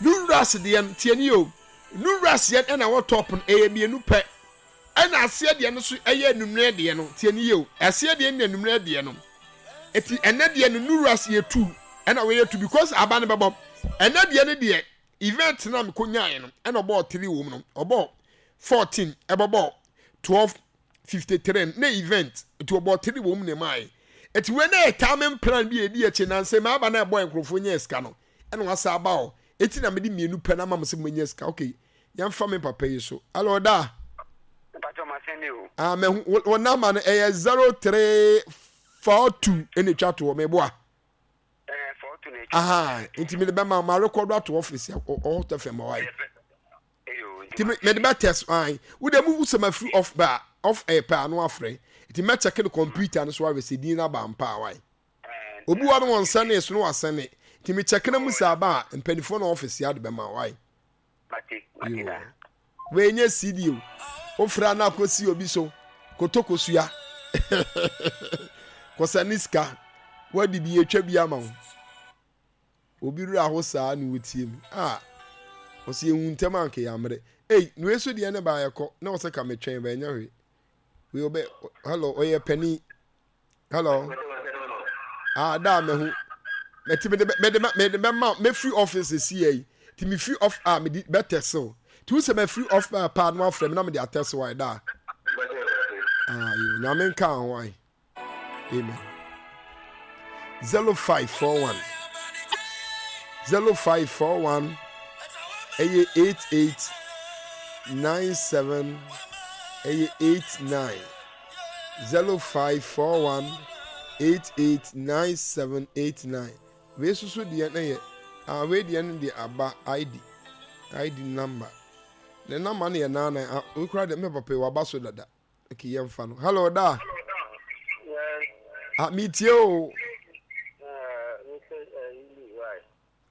A: nuras deɛ no tie ni o. Nuras deɛ ɛna wɔ top no ɛyɛ mmienu pɛ. Ɛna aseɛ deɛ no so ɛyɛ anummerɛ deɛ no tie ni o. Aseɛ deɛ ne anummerɛ deɛ no. Eti ɛnɛ deɛ no nuras yɛ two ɛna wɔyɛ two because aba no bɛbɔ. Ɛnɛ deɛ no deɛ event na mekɔ nyaeɛ no ɛna ɔbɔɔ three wɔ mu no, ɔbɔɔ fourteen, ɛbɛbɔɔ twelve fifty three ne event, nti ɔbɔɔ three wɔ mu na ɛmaeɛ. Eti wei na yɛ timing plan bi a ɛdi akyi na nsɛ maa aba na ɛbɔɔ nkurɔfoɔ nyɛ sika no ɛna wasa aba hɔ. Eti na mede mmienu pɛ na ama mo sɛ mo nyɛ sika. Okay, yɛmfa me papa yi so. Alo da.
B: Mpatsɔ ma sɛn o.
A: Ah, mɛ wo number no ɛyɛ zero three four two ɛna etwa toɔ mɛboa. Aha, nti mede bɛma ma rekɔdo ato office ɔhɔ tɛ fɛm ɔwae. Nti mede bɛ test an. Wo de mu sɛ ma free off ba off air pɛ ano afrɛ. Nti mɛ check no computer no so ahwɛ sɛ din no aba mpa awae. Obi wɔ no wɔn sɛne so no wasɛne. Nti me check na mu sɛ aba a mpanimfoɔ na office ya de bɛma wae. Wei nyɛ C D o. Wofra na akɔsi obi so kotokosua kɔsa ne sika wadi bi atwa bi ama wo. Obi werɛ aho saa na wotie mu a ɔsɛ yɛhu ntɛm anka yɛammerɛ. Ei, na wei so deɛ ne baa yɛkɔ na ɔsɛ ka metwɛn ba ɛnyɛ hwee. Wei ɔbɛ hello, ɔyɛ panin. Hello. Ah, da mehu. Mɛti mede mede mede bɛma mɛfiri office esi yɛ yi. Ti me firi off a mede bɛtɛsew. Ti wo sɛ mɛfiri off a paa no afrɛ me na mede atɛsew ayɛ da. Ah, yo, nyame nka ho ayi. Amen. zero five four one zero five four one ɛyɛ eight eight nine seven ɛyɛ eight nine, zero five four one eight eight nine seven eight nine. Wei soso deɛ no yɛ ah, wei deɛ no deɛ aba I D I D number ne number no yɛ nine nine. Ah, wei kura deɛ mɛ papa yi waba so dada. Okay, yɛmfa no. Hello da. Ah, metie o.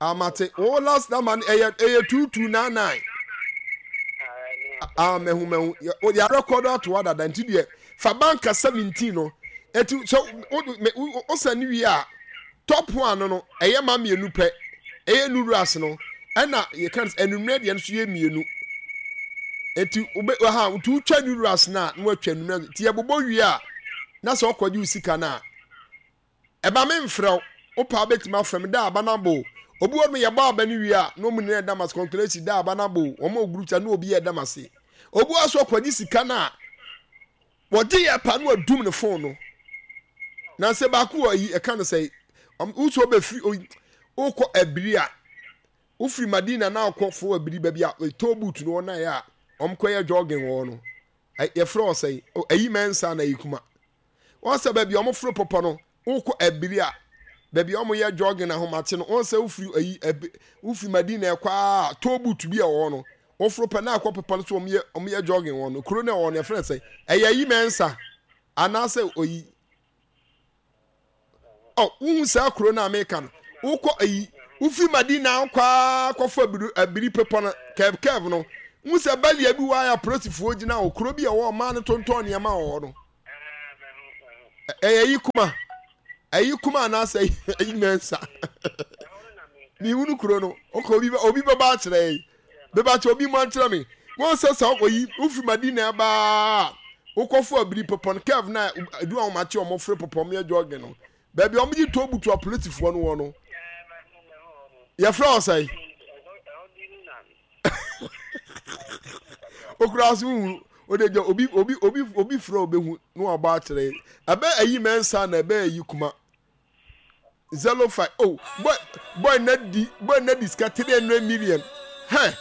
A: Ah, mate wo last number no ɛyɛ ɛyɛ two two nine nine. Ah, mɛhu mɛhu yɛ record ato hɔ dada, nti deɛ fa banka seventeen no eti sɛ o o sɛ ne wie a top one no no ɛyɛ ma mmienu pɛ, ɛyɛ nuras no ɛna yɛka no enumere deɛ no so yɛ mmienu, eti wobe ha nti wotwa nuras no a na watwa enumere, nti yɛbobɔ wie a na sɛ ɔkɔgye wo sika no a ɛba me mfrɛ wo, wopɛ a wobɛtumi afrɛ me da aba no abo. Obi wɔ no yɛbɔ aba no wie a na ɔmu nyinaa ɛda m ase, congratulations, da aba no abo, wɔn a group chat na obi yɛ ɛda m ase. Obi wɔ so ɔkɔgye sika no a wɔgye yɛ pa no adum ne phone no na sɛ baako wɔ ayi ɛka no sɛ wosɔ bɛfiri wokɔ abiri a wofiri Madina na akɔ fo abiri baabi a toll booth no wɔn ayɛ a wɔn kɔyɛ jogging wɔ no, yɛfrɛ wɔ sɛ ayi mɛnsa na ayi kuma wɔn sɛ baabi a wɔn foro pɔpɔ no wokɔ abiri a baabi a wɔn yɛ jogging ahomakye no, wɔn sɛ wofiri ayi ɛbi wofiri Madina ɛkɔ a toll booth bi a ɛwɔ no woforo pɛ na akɔ pɔpɔ no so wɔn yɛ wɔn yɛ jogging wɔ no kuro no ɛwɔ no yɛfrɛ sɛ ɛyɛ ayi mɛnsa anaasɛ oyi ɔ wohu saa kuro no a meka no, wokɔ ayi wofiri Madina wokɔ a kɔfo abiri abiri pepɔ no curve curve no N sɛ bɛlia bi wɔ ayɛ apolisifoɔ gyina hɔ, kuro bi a ɛwɔ ɔmaa no tontɔn nneɛma wɔ hɔ no. Ɛyɛ yi kuma, ɛyi kuma anaasɛ ɛyi mɛnsa. Mihunu kuro no, ɔkɔ obi obi bɛba akyerɛ yi. Bɛba kyerɛ obi mu akyerɛ me. Wɔn sɛ sɛ ɔyi wofi Madina baa wokɔfo abiri pɔpɔn curve na edu ahomakye wɔn fere pɔpɔn yɛ jɔge no. Baabi a wɔgye toll butu apolisifoɔ no wɔ no. Yɛfrɛ wɔ sɛn? Okura so hu ode gya obi obi obi obi frɛ obehu na wabɔ akyerɛ. Ɛbɛ ayi mɛnsa na ɛbɛ ayi kuma. Zero five oh boy boy na di boy na di sika three hundred million. Hɛ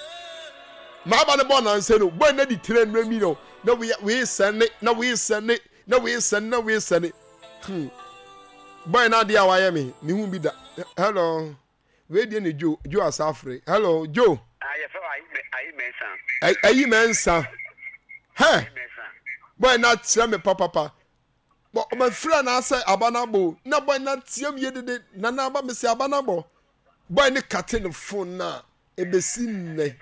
A: maaba ne bɔ nansa no boy na di three hundred million na wei wei sɛne na wei sɛne na wei sɛne na wei sɛne. Hmm. Boy na adeɛ a wayɛ me mehu bi da. Hello. Wei deɛ ne Joe Joe Asafre. Hello Joe.
B: Ah, yɛfrɛ wo Ayi Mɛnsa.
A: Ayi Mɛnsa. Hɛ. Boy na kyerɛ me papapa. Bɔ ɔma fira na asɛ aba na bo. Na boy na tiam yie dede. Na na aba mesi aba na bɔ. Boy ne kate ne phone na ebesi nnɛ.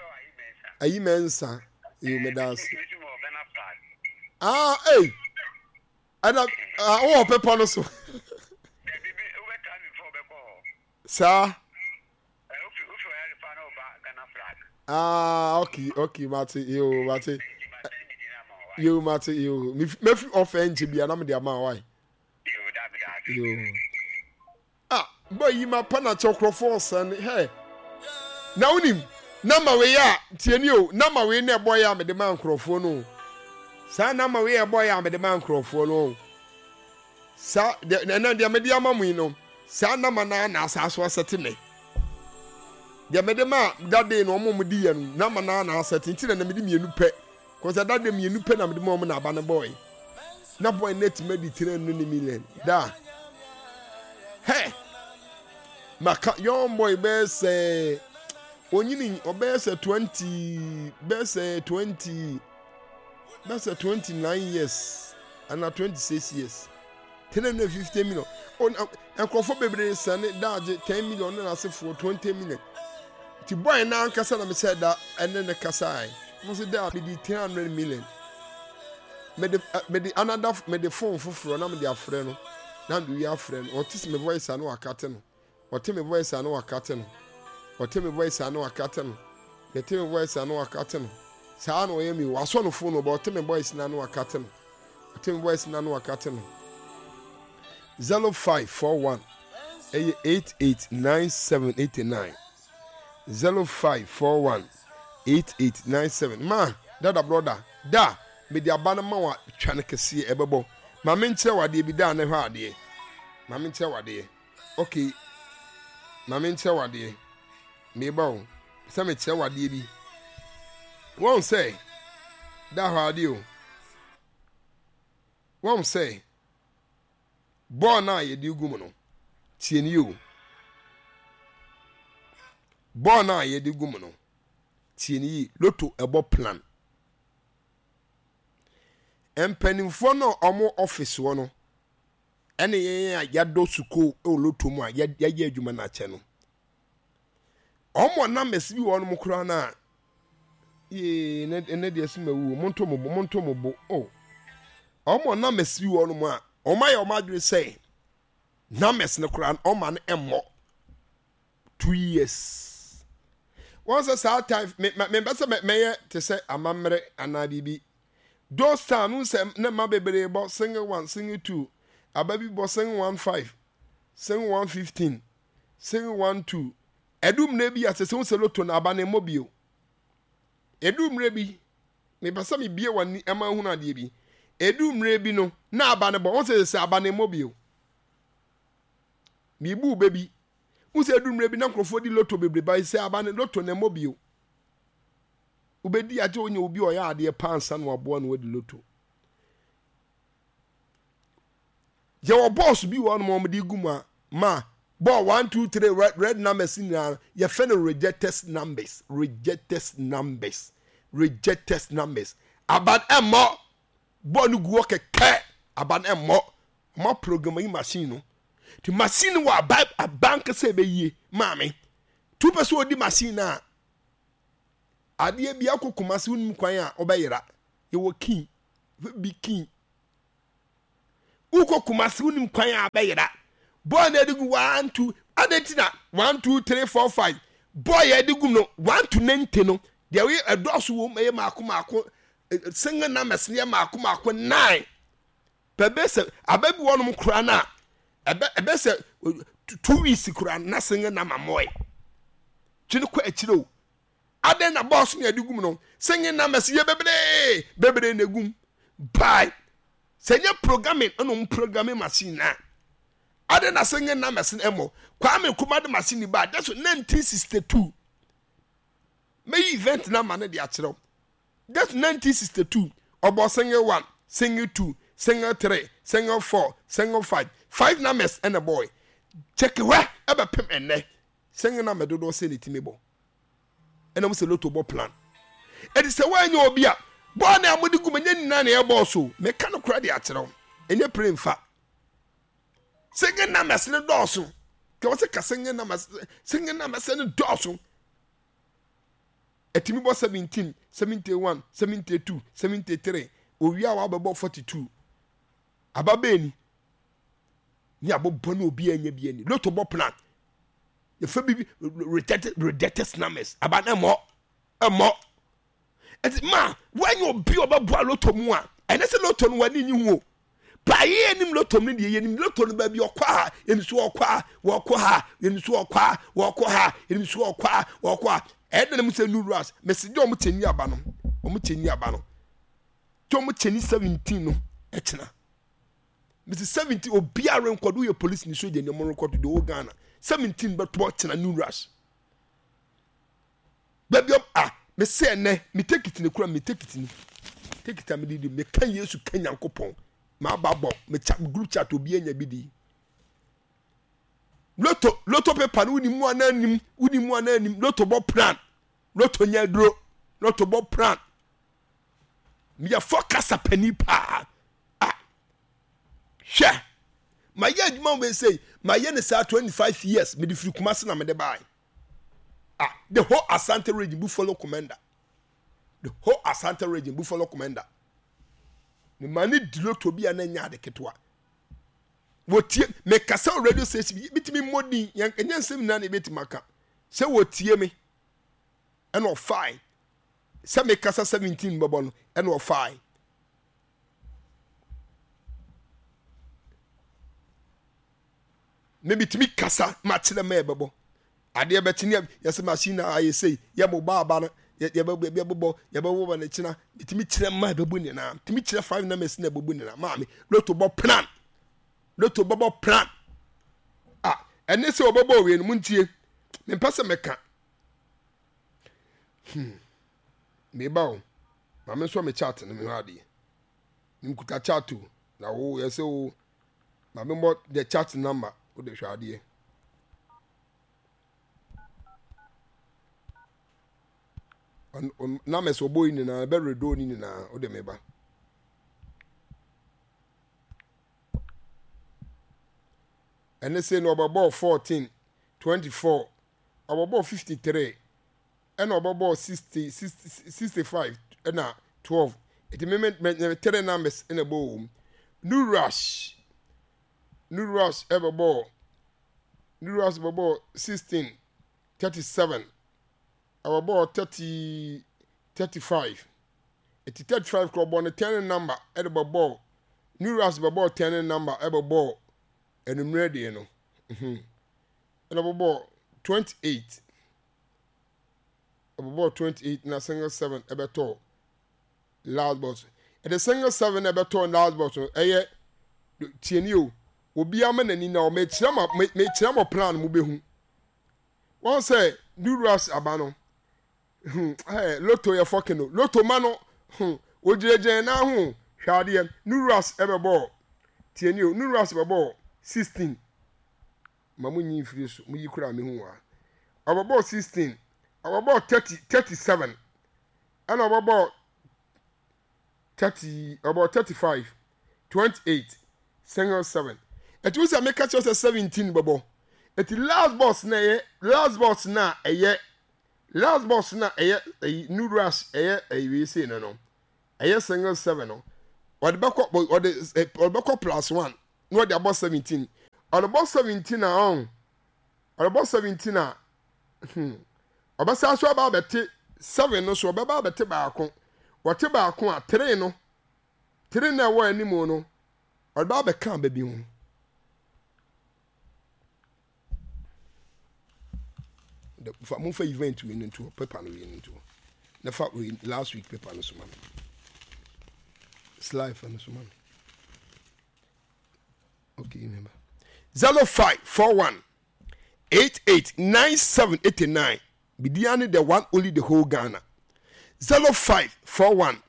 A: Ayi Mɛnsa. Yo me da ase. Ah, hey. Ɛna ah, wowɔ pepɔ no so. Saa. Ah, okay, okay, mate, yo, mate. Yo, mate, yo. Mefi off ɛnkyɛ bia na mede ama why. Yo. Ah, boy yi ma pa na kyɛ nkurɔfoɔ ɔsɛn hɛ. Na wonim, nama wei a, tie ni o, nama wei na ɛbɔ yɛ a mede ma nkurɔfoɔ no. Saa nama wei a ɛbɔ yɛ a mede ma nkurɔfoɔ no. Saa, ɛnɛ deɛ mede ama mo yi no, saa nama no ara na asaa so asɛte nɛ. Deɛ mede ma dade no ɔmo ɔmo di yɛ no, nama no ara na asɛte nti na na mede mmienu pɛ. Kɔsɛ dade mmienu pɛ na mede ma ɔmo na aba no bɔɔe. Na bɔɔe no atumi adi three hundred million da. Hɛ! Maka young boy bɛyɛ sɛ onyini ɔbɛyɛ sɛ twenty bɛyɛ sɛ twenty bɛyɛ sɛ twenty nine years ana twenty six years. Three hundred fifty million. Oh, nkurɔfoɔ bebree sɛne daagye ten million ne n'asefoɔ twenty million. Nti boy no ankasa na mehyɛ da ɛne ne kasae. Mo sɛ da mede three hundred million. Mede mede another mede phone foforɔ na mede afrɛ no. Na mede wi afrɛ no. Ɔte me voice a na wakate no. Ɔte me voice a na wakate no. Ɔte me voice a na wakate no. Mete me voice a na wakate no. Saa na ɔyɛ mi. Wasɔ no phone no but ɔte me voice na na wakate no. Ɔte me voice na na wakate no. zero five four one ɛyɛ eight eight nine seven eight nine zero five four one eight eight nine seven ma dada broda da mede aba no ma wa twa no kɛseɛ ɛbɛbɔ ma menkyerɛ wadeɛ bi da na hwɛ adeɛ ma menkyerɛ wadeɛ okay ma menkyerɛ wadeɛ meba o sɛ mekyerɛ wadeɛ bi wɔn sɛ da hɔ adeɛ o wɔn sɛ bɔɔl no a yɛde gu mu no tie nie o bɔɔl no a yɛde gu mu no tie nie yie loto ɛbɔ plan mpanimfoɔ no a wɔn office hɔ no ɛne yɛn a yɛadɔ sukuu wɔ loto mu a yɛayɛ adwuma no akyɛ no wɔn numbers bi wɔ wɔn koraa no a yee ne ne deɛ sɛ mawu monto mo bo monto mo bo o wɔn numbers bi wɔ wɔn a wɔn ayɛ wɔn adwene sɛ numbers no koraa no wɔn ma no mmɔ two years wɔn sɛ saa time me me mpɛ sɛ mɛyɛ te sɛ amammerɛ anaa biribi those time no sɛ ne mma bebree bɔ single one single two aba bi bɔ single one five single one fifteen single one two ɛdu mmerɛ bi a sɛ sɛ wo sɛ loto no aba no mmɔ bio ɛdu mmerɛ bi mepɛ sɛ mebie w'ani ɛma ahunu adeɛ bi ɛdu mmerɛ bi no na aba no bɔ wo sɛ sɛ aba no mmɔ bio mebu bɛ bi wo sɛ ɛdu mmerɛ bi na nkurɔfoɔ di loto bebree ba sɛ aba no loto no mmɔ bio wobɛdi agye wonya obi ɔyɛ adeɛ paa nsa na waboa no wadi loto yɛwɔ bɔɔs bi wɔ hɔnom a wɔde gu mu a ma bɔɔl one two three red, red numbers nyinaa yɛfɛ no rejected numbers rejected numbers rejected numbers aban ɛmmɔ bɔɔl no gu hɔ kɛkɛ aban ɛmmɔ ɔma program yi machine no ti machine no wɔ aba aba nkasa ɛbɛyie maame tu pɛ sɛ ɔdi machine no a Adeɛ bi akɔ Kumasi, wonim kwan a wobɛyera. Yɛwɔ kii bi kii. Wokɔ Kumasi, wonim kwan a wobɛyera. Bɔɔl na ɛde gu one two ade nti na one two three four five bɔɔl yɛ ɛde gu no one to ninety no deɛ wɔyɛ ɛdɔɔso wɔm ɛyɛ maako maako, single numbers yɛ maako maako nine pɛbɛ sɛ abɛ bi wɔnom koraa na ɛbɛ ɛbɛ sɛ two weeks koraa na single number mɔɛ twene kɔ akyire o. Adɛn na bɔɔso na ɛde gum no single numbers yɛ bebree bebree na egum bye sɛ nyɛ programming ɛna ɔmo programming machine na adɛn na single numbers no ɛmɔ. Kwame Nkrumah de machine ba that's nineteen sixty two. Mɛyi event na ma no de akyerɛw. That's nineteen sixty two. Ɔbɔ single one, single two, single three, single four, single five, five numbers ɛna bɔɔl. Check hɔ ɛbɛpem ɛnɛ single number dodoɔ sɛ ne timi bɔ ɛna mo sɛ lotto bɔ plan. Ɛdi sɛ wɔanyɛ obi a bɔɔl na mode gu mu ɛnyɛ nyinaa na ɛbɔɔ so. Meka no kora de akyerɛw, ɛnyɛ pere nfa single numbers ne dɔɔso kɛ wɔ sɛ ka single numbers, single numbers ne dɔɔso. Ɛtumi bɔ seventeen, seventy one, seventy two, seventy three. Owia a wabɛbɔ forty two aba bɛɛni ne abɔbɔ ne obi anya bi ani. Lotto bɔ plan, yɛfɛ bi rejected rejected numbers aba ne mmɔ ɛmmɔ. Ɛti ma wɔnyɛ obi a ɔbɛboa lotto mu a ɛnɛ sɛ lotto no wani nyi ho o baayɛ anim. Lotto no deɛ, yɛnim lotto no baabi ɔkɔ a, yɛnim so ɔkɔ a wɔkɔ ha, yɛnim so ɔkɔ a wɔkɔ ha, yɛnim so ɔkɔ a wɔkɔ a. Ɛyɛ dɛn mu sɛ new rush mɛsi gye ɔmo kyɛnni aba no, ɔmo kyɛnni aba no tí ɔmo kyɛnni seventeen no ɛkyina mɛsi seventeen. Obiara nkɔdo yɛ police ni soja ni ɔmo rekɔdo de ɔwɔ Ghana seventeen bɛtɔ kyina new rush baabi ɔm a mɛsi ɛnɛ mi ticket ne kura mi ticket ni ticket a mi di di mi ka Yesu ka Nyankopɔn maa ba bɔ mi chat group chat, obi anya bi di lotto. Lotto paper no wuni mu ana nim wuni mu ana nim. Lotto bɔ plan, lotto nyɛ duro, lotto bɔ plan. Meyɛ forecaster panin paa a hwɛ mayɛ adwuma wɔ sɛ mayɛ ne saa twenty five years. Mede firi Kumase na mede bae ah the whole Asante Region Buffalo commander, the whole Asante Region Buffalo commander. Ne ma ne di lotto bi a na nya ade ketewa wɔtie. Mekasa wɔ radio station bi bitumi mmɔ din yɛn ɛnyɛ nsɛm nyinaa na ebɛtumi aka sɛ wɔtie me. Ɛna ɔfae sɛ mekasa seventeen bɛbɔ no, ɛna ɔfae me bitumi kasa ma kyerɛ ma ɛbɛbɔ adeɛ bɛkye ne yɛsɛ machine na ayɛ sei yɛ mo ba aba no yɛbɛbɔ yɛbɛbɔ ne kyena. Bitumi kyerɛ ma ɛbɛbɔ nyinaa, bitumi kyerɛ five numbers na ɛbɛbɔ nyinaa. Maame, lotto bɔ plan, lotto bɛbɔ plan a ɛne sɛ ɔbɛbɔ owie no mu ntie. Mempɛ sɛ mɛka hmm meba o. Maame nso me chat no mehwɛ adeɛ, nkuta chat o na wo yɛ sɛ o maame mbɔ the chat number o de hwɛ adeɛ. Numbers ɔbɔ yi nyinaa ɛbɛ redo ne nyinaa o de meba. Ɛne sɛ no ɔbɛbɔ fourteen, twenty four, ɔbɛbɔ fifty three, ɛna ɔbɛbɔ sixty, sixty five, ɛna twelve. Eti me me me three numbers ɛna ɛbɔ wɔ mu. New rush, new rush ɛbɛbɔ, new rush bɛbɔ sixteen, thirty seven, ɛbɛbɔ thirty, thirty five. Eti thirty five kɔ ɔbɔ ne ten number ɛde bɛbɔ new rush, bɛbɔ ten number ɛbɛbɔ enumere deɛ no, ɛna ɔbɛbɔ twenty eight, ɛbɛbɔ twenty eight na single seven ɛbɛtɔ last box. Ɛde single seven ɛbɛtɔ last box no ɛyɛ tieni o. Obi ama n'ani na ɔmɛkyerɛ ma mɛkyerɛ mo plan mo bɛhu wɔn sɛ new rush aba no hmm ɛɛ lotto yɛ fɔkin no lotto ma no hmm ogyinagyina nan ho hwɛ adeɛ. New rush ɛbɛbɔ tieni o, new rush bɛbɔ sixteen. Ma mo nyi mfiri so mo yi kura mi hu wa ɔbɛbɔ sixteen, ɔbɛbɔ thirty, thirty seven, ɛna ɔbɛbɔ thirty, ɔbɔ thirty five, twenty eight, single seven. Ɛti wosɛ meka kyerɛ sɛ seventeen bɛbɔ. Ɛti last box na ɛyɛ last box na ɛyɛ Last box na ɛyɛ ɛyi new rush ɛyɛ ɛyi wei sei no no ɛyɛ single seven no ɔde bɛkɔ ɔde ɔde bɛkɔ plus one na ɔde abɔ seventeen ɔde bɔ seventeen a ɔn ɔde bɔ seventeen a hmm ɔbɛsa so aba abɛte seven no so ɔbɛba abɛte baako wɔte baako a three no three na ɛwɔ anim no ɔde ba abɛka aba bi ho. Fa momfa event wei no nto paper no wei no nto na fa wei last week paper no so ma me slide fa no so ma me okay remember zero five four one eight eight nine seven eighty nine bidiane the one only the whole Ghana zero five four one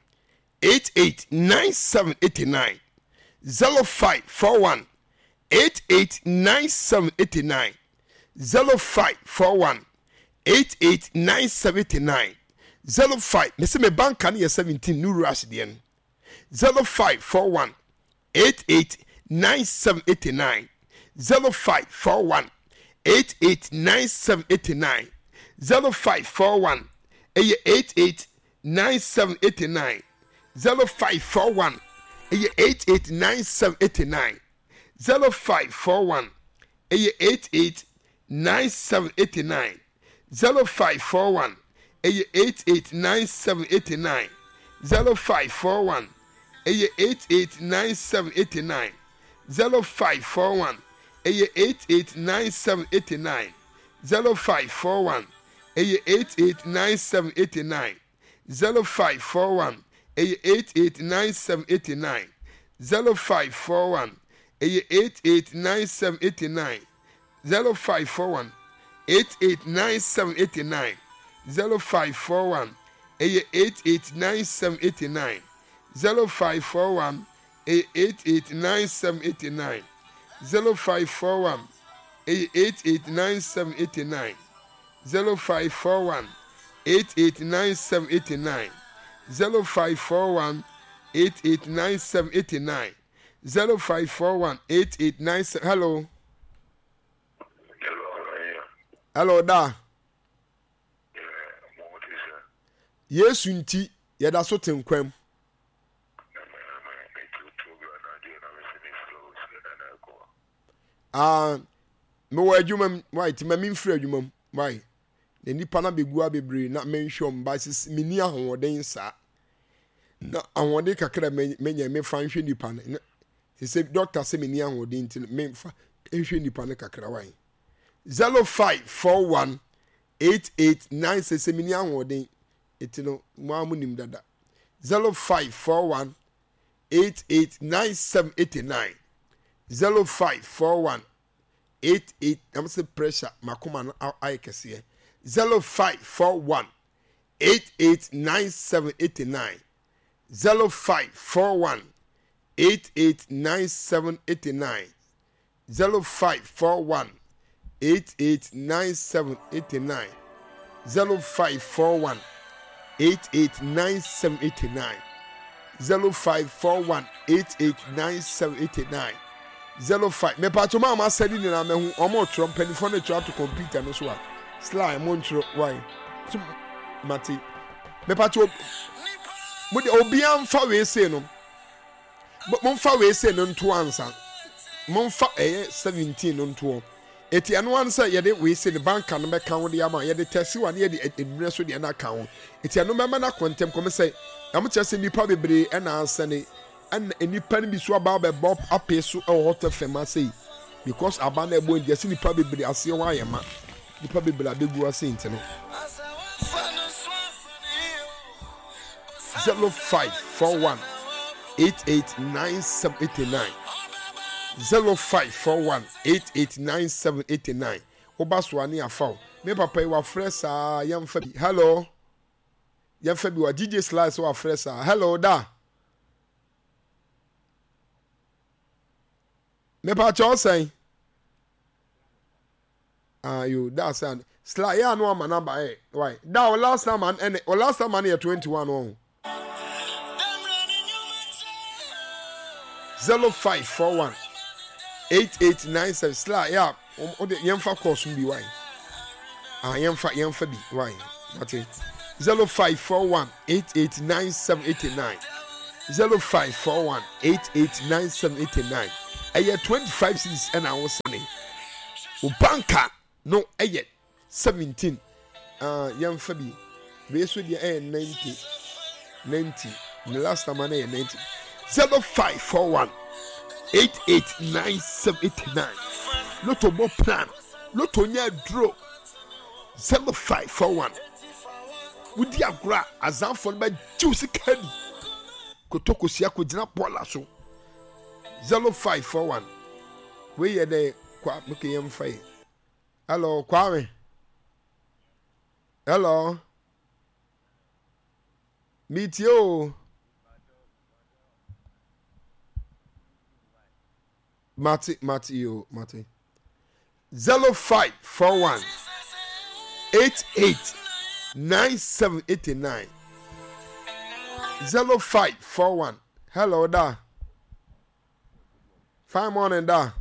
A: eight eight nine seven eighty nine zero five four one eight eight nine seven eighty nine zero five four one eight eight nine seventy nine zero five mese me banka no yɛ seventeen new rush deɛ no zero five four one eight eight nine seven eighty nine zero five four one eight eight nine seven eighty nine zero five four one ɛyɛ eight eight nine seven eighty nine zero five four one ɛyɛ eight eight nine seven eighty nine zero five four one ɛyɛ eight eight nine seven eighty nine zero five four one ɛyɛ eight eight nine seven eighty nine zero five four one ɛyɛ eight eight nine seven eighty nine zero five four one ɛyɛ eight eight nine seven eighty nine zero five four one ɛyɛ eight eight nine seven eighty nine zero five four one ɛyɛ eight eight nine seven eighty nine zero five four one ɛyɛ eight eight nine seven eighty nine zero five four one eight eight nine seven eighty nine zero five four one ɛyɛ eight eight nine seven eighty nine zero five four one ɛyɛ eight eight nine seven eighty nine zero five four one ɛyɛ eight eight nine seven eighty nine zero five four one eight eight nine seven eighty nine zero five four one eight eight nine seven eighty nine zero five four one eight eight nine seven. Hello. Hello, da. Yesu nti yɛda so te nkwam. Ah, mewɔ adwuma mu wai ti ma memfiri adwuma mu wai na nipa na bɛgu abebree na menhwɛ ɔm ba sisi menni ahoɔden saa na ahoɔden kakra menya mefa nhwɛ nipa no sɛ dɔkta sɛ menni ahoɔden nti memfa nhwɛ nipa no kakra wai zero five four one eight eight nine sɛ sɛ menni ahoɔden eti no mo a mo nim dada zero five four one eight eight nine seven eight nine zero five four one eight eight na mo sɛ pressure makoma no ayɛ kɛseɛ zero five four one eight eight nine seven eight nine zero five four one eight eight nine seven eight nine zero five four one eight eight nine seven eight nine zero five four one eight eight nine seven eight nine zero five four one eight eight nine seven eight nine zero five. Mepatso maa ma asɛde nyinaa mɛhu ɔmo twerɛ mpanimfoɔ no twerɛ ato kɔmputa no so a sly mo ntwerɛ wai so mate mepatso mo de obiara nfa wei sei no momfa wei sei no nto ansa momfa ɛyɛ seventeen no ntoɔ eti ɛno ano sɛ yɛde wei sei no banka no bɛka ho de ama yɛde tɛsiwa ne yɛde nnua so deɛ no aka ho eti ɛno bɛma no akɔ ntɛm kɔm sɛ ɛmo kyerɛ sɛ nnipa bebree ɛna asɛne ɛna nnipa no bi so aba abɛbɔ apee so ɛwɔ hɔ tɛ fɛm ase yi because aba na ɛbɔ nti ɛsɛ nnipa bebree aseɛ hɔ ayɛ ma nnipa bebree abɛgu ase nti no zero five four one eight eight nine seven eight nine zero five four one eight eight nine seven eight nine woba so a ne afa o me papa yi wafrɛ saa yɛmfa bi hello yɛmfa bi wa D J Slice wafrɛ saa hello da me pa kyɛw sɛn ah yo da sɛn Sly yeah no ama number eh why da o last time and o last time and yɛ twenty one oh zero five four one eight eight nine seven Sly yeah o de yɛmfa course bi why ah yɛmfa yɛmfa bi why Mate. zero five four one eight eight nine seven eight nine zero five four one eight eight nine seven eight nine ɛyɛ twenty five cedis ɛna awosane o banka no ɛyɛ seventeen ah yɛnfa bi wei so deɛ ɛyɛ ninety ninety ne last time no yɛ ninety zero five four one eight eight nine seven eight nine lotto bɔ plan lotto nyɛ aduro zero five four one wodi agorɔ a azanfoɔ no bɛgye wo sika di kotokosia kɔgyina bɔɔla so zero five four one wei yɛ dɛ kwa meke yɛmfa yi hello Kwame hello metie o mate mate yo mate zero five four one eight eight nine seven eight nine zero five four one hello da fine morning da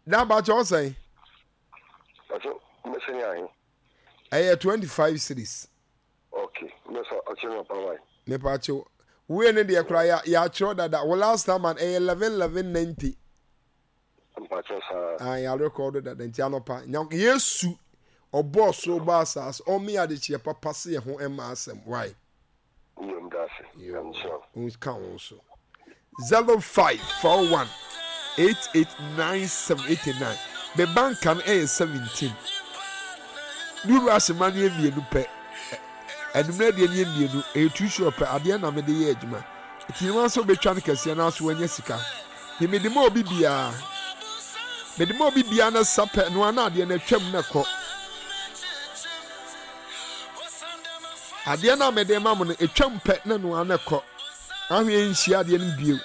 A: da bakyɛ ɔsɛn
B: Pacho, mbɛsɛ ni ahe?
A: ɛyɛ twenty five cedis
B: Okay, mbɛsɛ ɔkyerɛ mi ɔpa wae.
A: mepakyɛw wei ne deɛ koraa yɛ yɛatwerɛ dada wo last time an ɛyɛ eleven eleven ninety
B: Mpakyɛ saa.
A: ah yɛarekɔdo dada nti anɔpa nya yesu ɔbɔɔ soro bɔ asase ɔme adekyeɛ papa se yɛ ho ɛma asɛm why
B: Yɛ mu da ase. Nyame
A: wo ka wo so zero five four one eight eight nine seven eight nine me banka no ɛyɛ seventeen ne wura asema no yɛ mmienu pɛ ɛnumere deɛ no yɛ mmienu ɛyɛ two short pɛ adeɛ na mede yɛ adwuma eti ne wɔn nso betwa no kɛseɛ na aso wɔanya sika ne mede ma obi biara mede ma obi biara na sa pɛ no ana adeɛ no atwam na kɔ adeɛ no a mede ma mo no atwam pɛ na no ana kɔ ahwɛ nhyia adeɛ no bio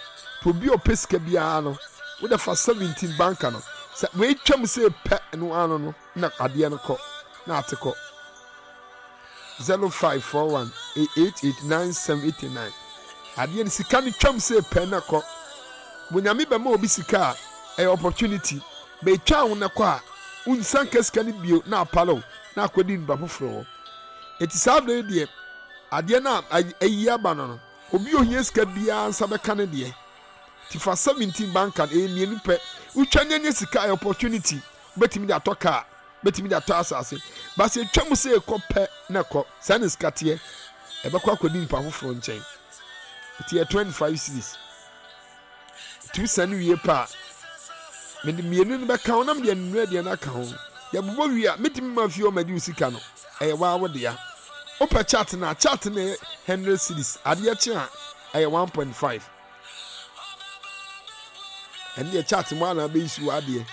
A: to obi a ɔpɛ sika biara no wode fa seventeen banka no sɛ wɔatwam sɛ pɛ no ano no na adeɛ no kɔ na ate kɔ zero five four one eight eight nine seven eight nine adeɛ no sika no twam sɛ pɛ na kɔ bonyame bɛma obi sika a ɛyɛ opportunity bɛtwa wo na kɔ a wonsa nka sika no bio na apale na akɔdi nipa foforɔ wɔ eti saa abere yi deɛ adeɛ no a ayi aba no no obi ohia sika biara nsa bɛka ne deɛ ti fa seventeen banka no ɛyɛ mmienu pɛ wotwa nyɛ nye sika ɛyɛ opportunity wobɛtumi de atɔ kaa bɛtumi de atɔ asase basi etwa mu sɛ ekɔ pɛ na kɔ saa ne sika teɛ ɛbɛkɔ akɔdi nipa foforɔ nkyɛn eti yɛ twenty five cedis tu sani wie pa a mede mmienu no bɛka ho na mede anumere deɛ no aka ho yɛbobɔ wie a metumi ma fie ɔma de wo sika no ɛyɛ waa wo dea wopɛ chat na chat no yɛ hundred cedis adeɛ kye a ɛyɛ one point five ɛne deɛ chat mu ana abɛyi si wɔ adeɛ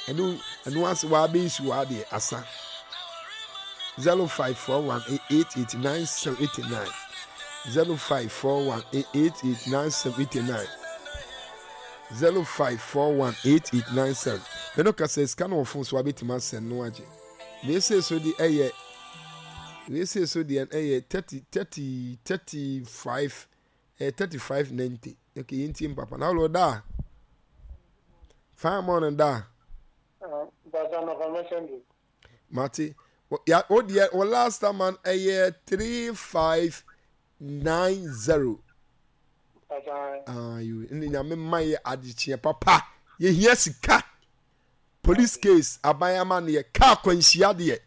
A: ɛno ɛno ase wɔ abɛyi si wɔ adeɛ asa zero five four one eight eight nine seven eight nine zero five four one eight eight nine seven eight nine zero five four one eight eight nine seven mɛno kasa sika no wɔ phone so wabɛtumi asɛn no agye wei so de ɛyɛ wei so deɛ ɛyɛ thirty thirty thirty five ɛyɛ thirty five ninety okay yɛn tie mpapa na ɔlɔ da fine morning da mate ya o deɛ o last time man ɛyɛ three five nine zero ayo ne nyame ma yɛ adekyeɛ papa yɛhia sika police case aban ama no yɛ kaa kwanhyia deɛ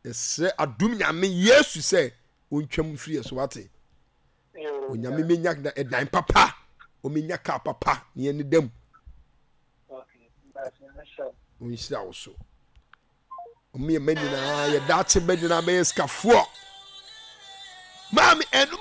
A: yɛsrɛ adum nyame yesu sɛ ɔntwam firi yɛ so wate onyame menya ɛdan papa ɔmenya kaa papa ne yɛne dam ɔnhyira wo so ɔmo yɛ mma nyinaa yɛ daakye mma nyinaa bɛyɛ sikafoɔ maame ɛnum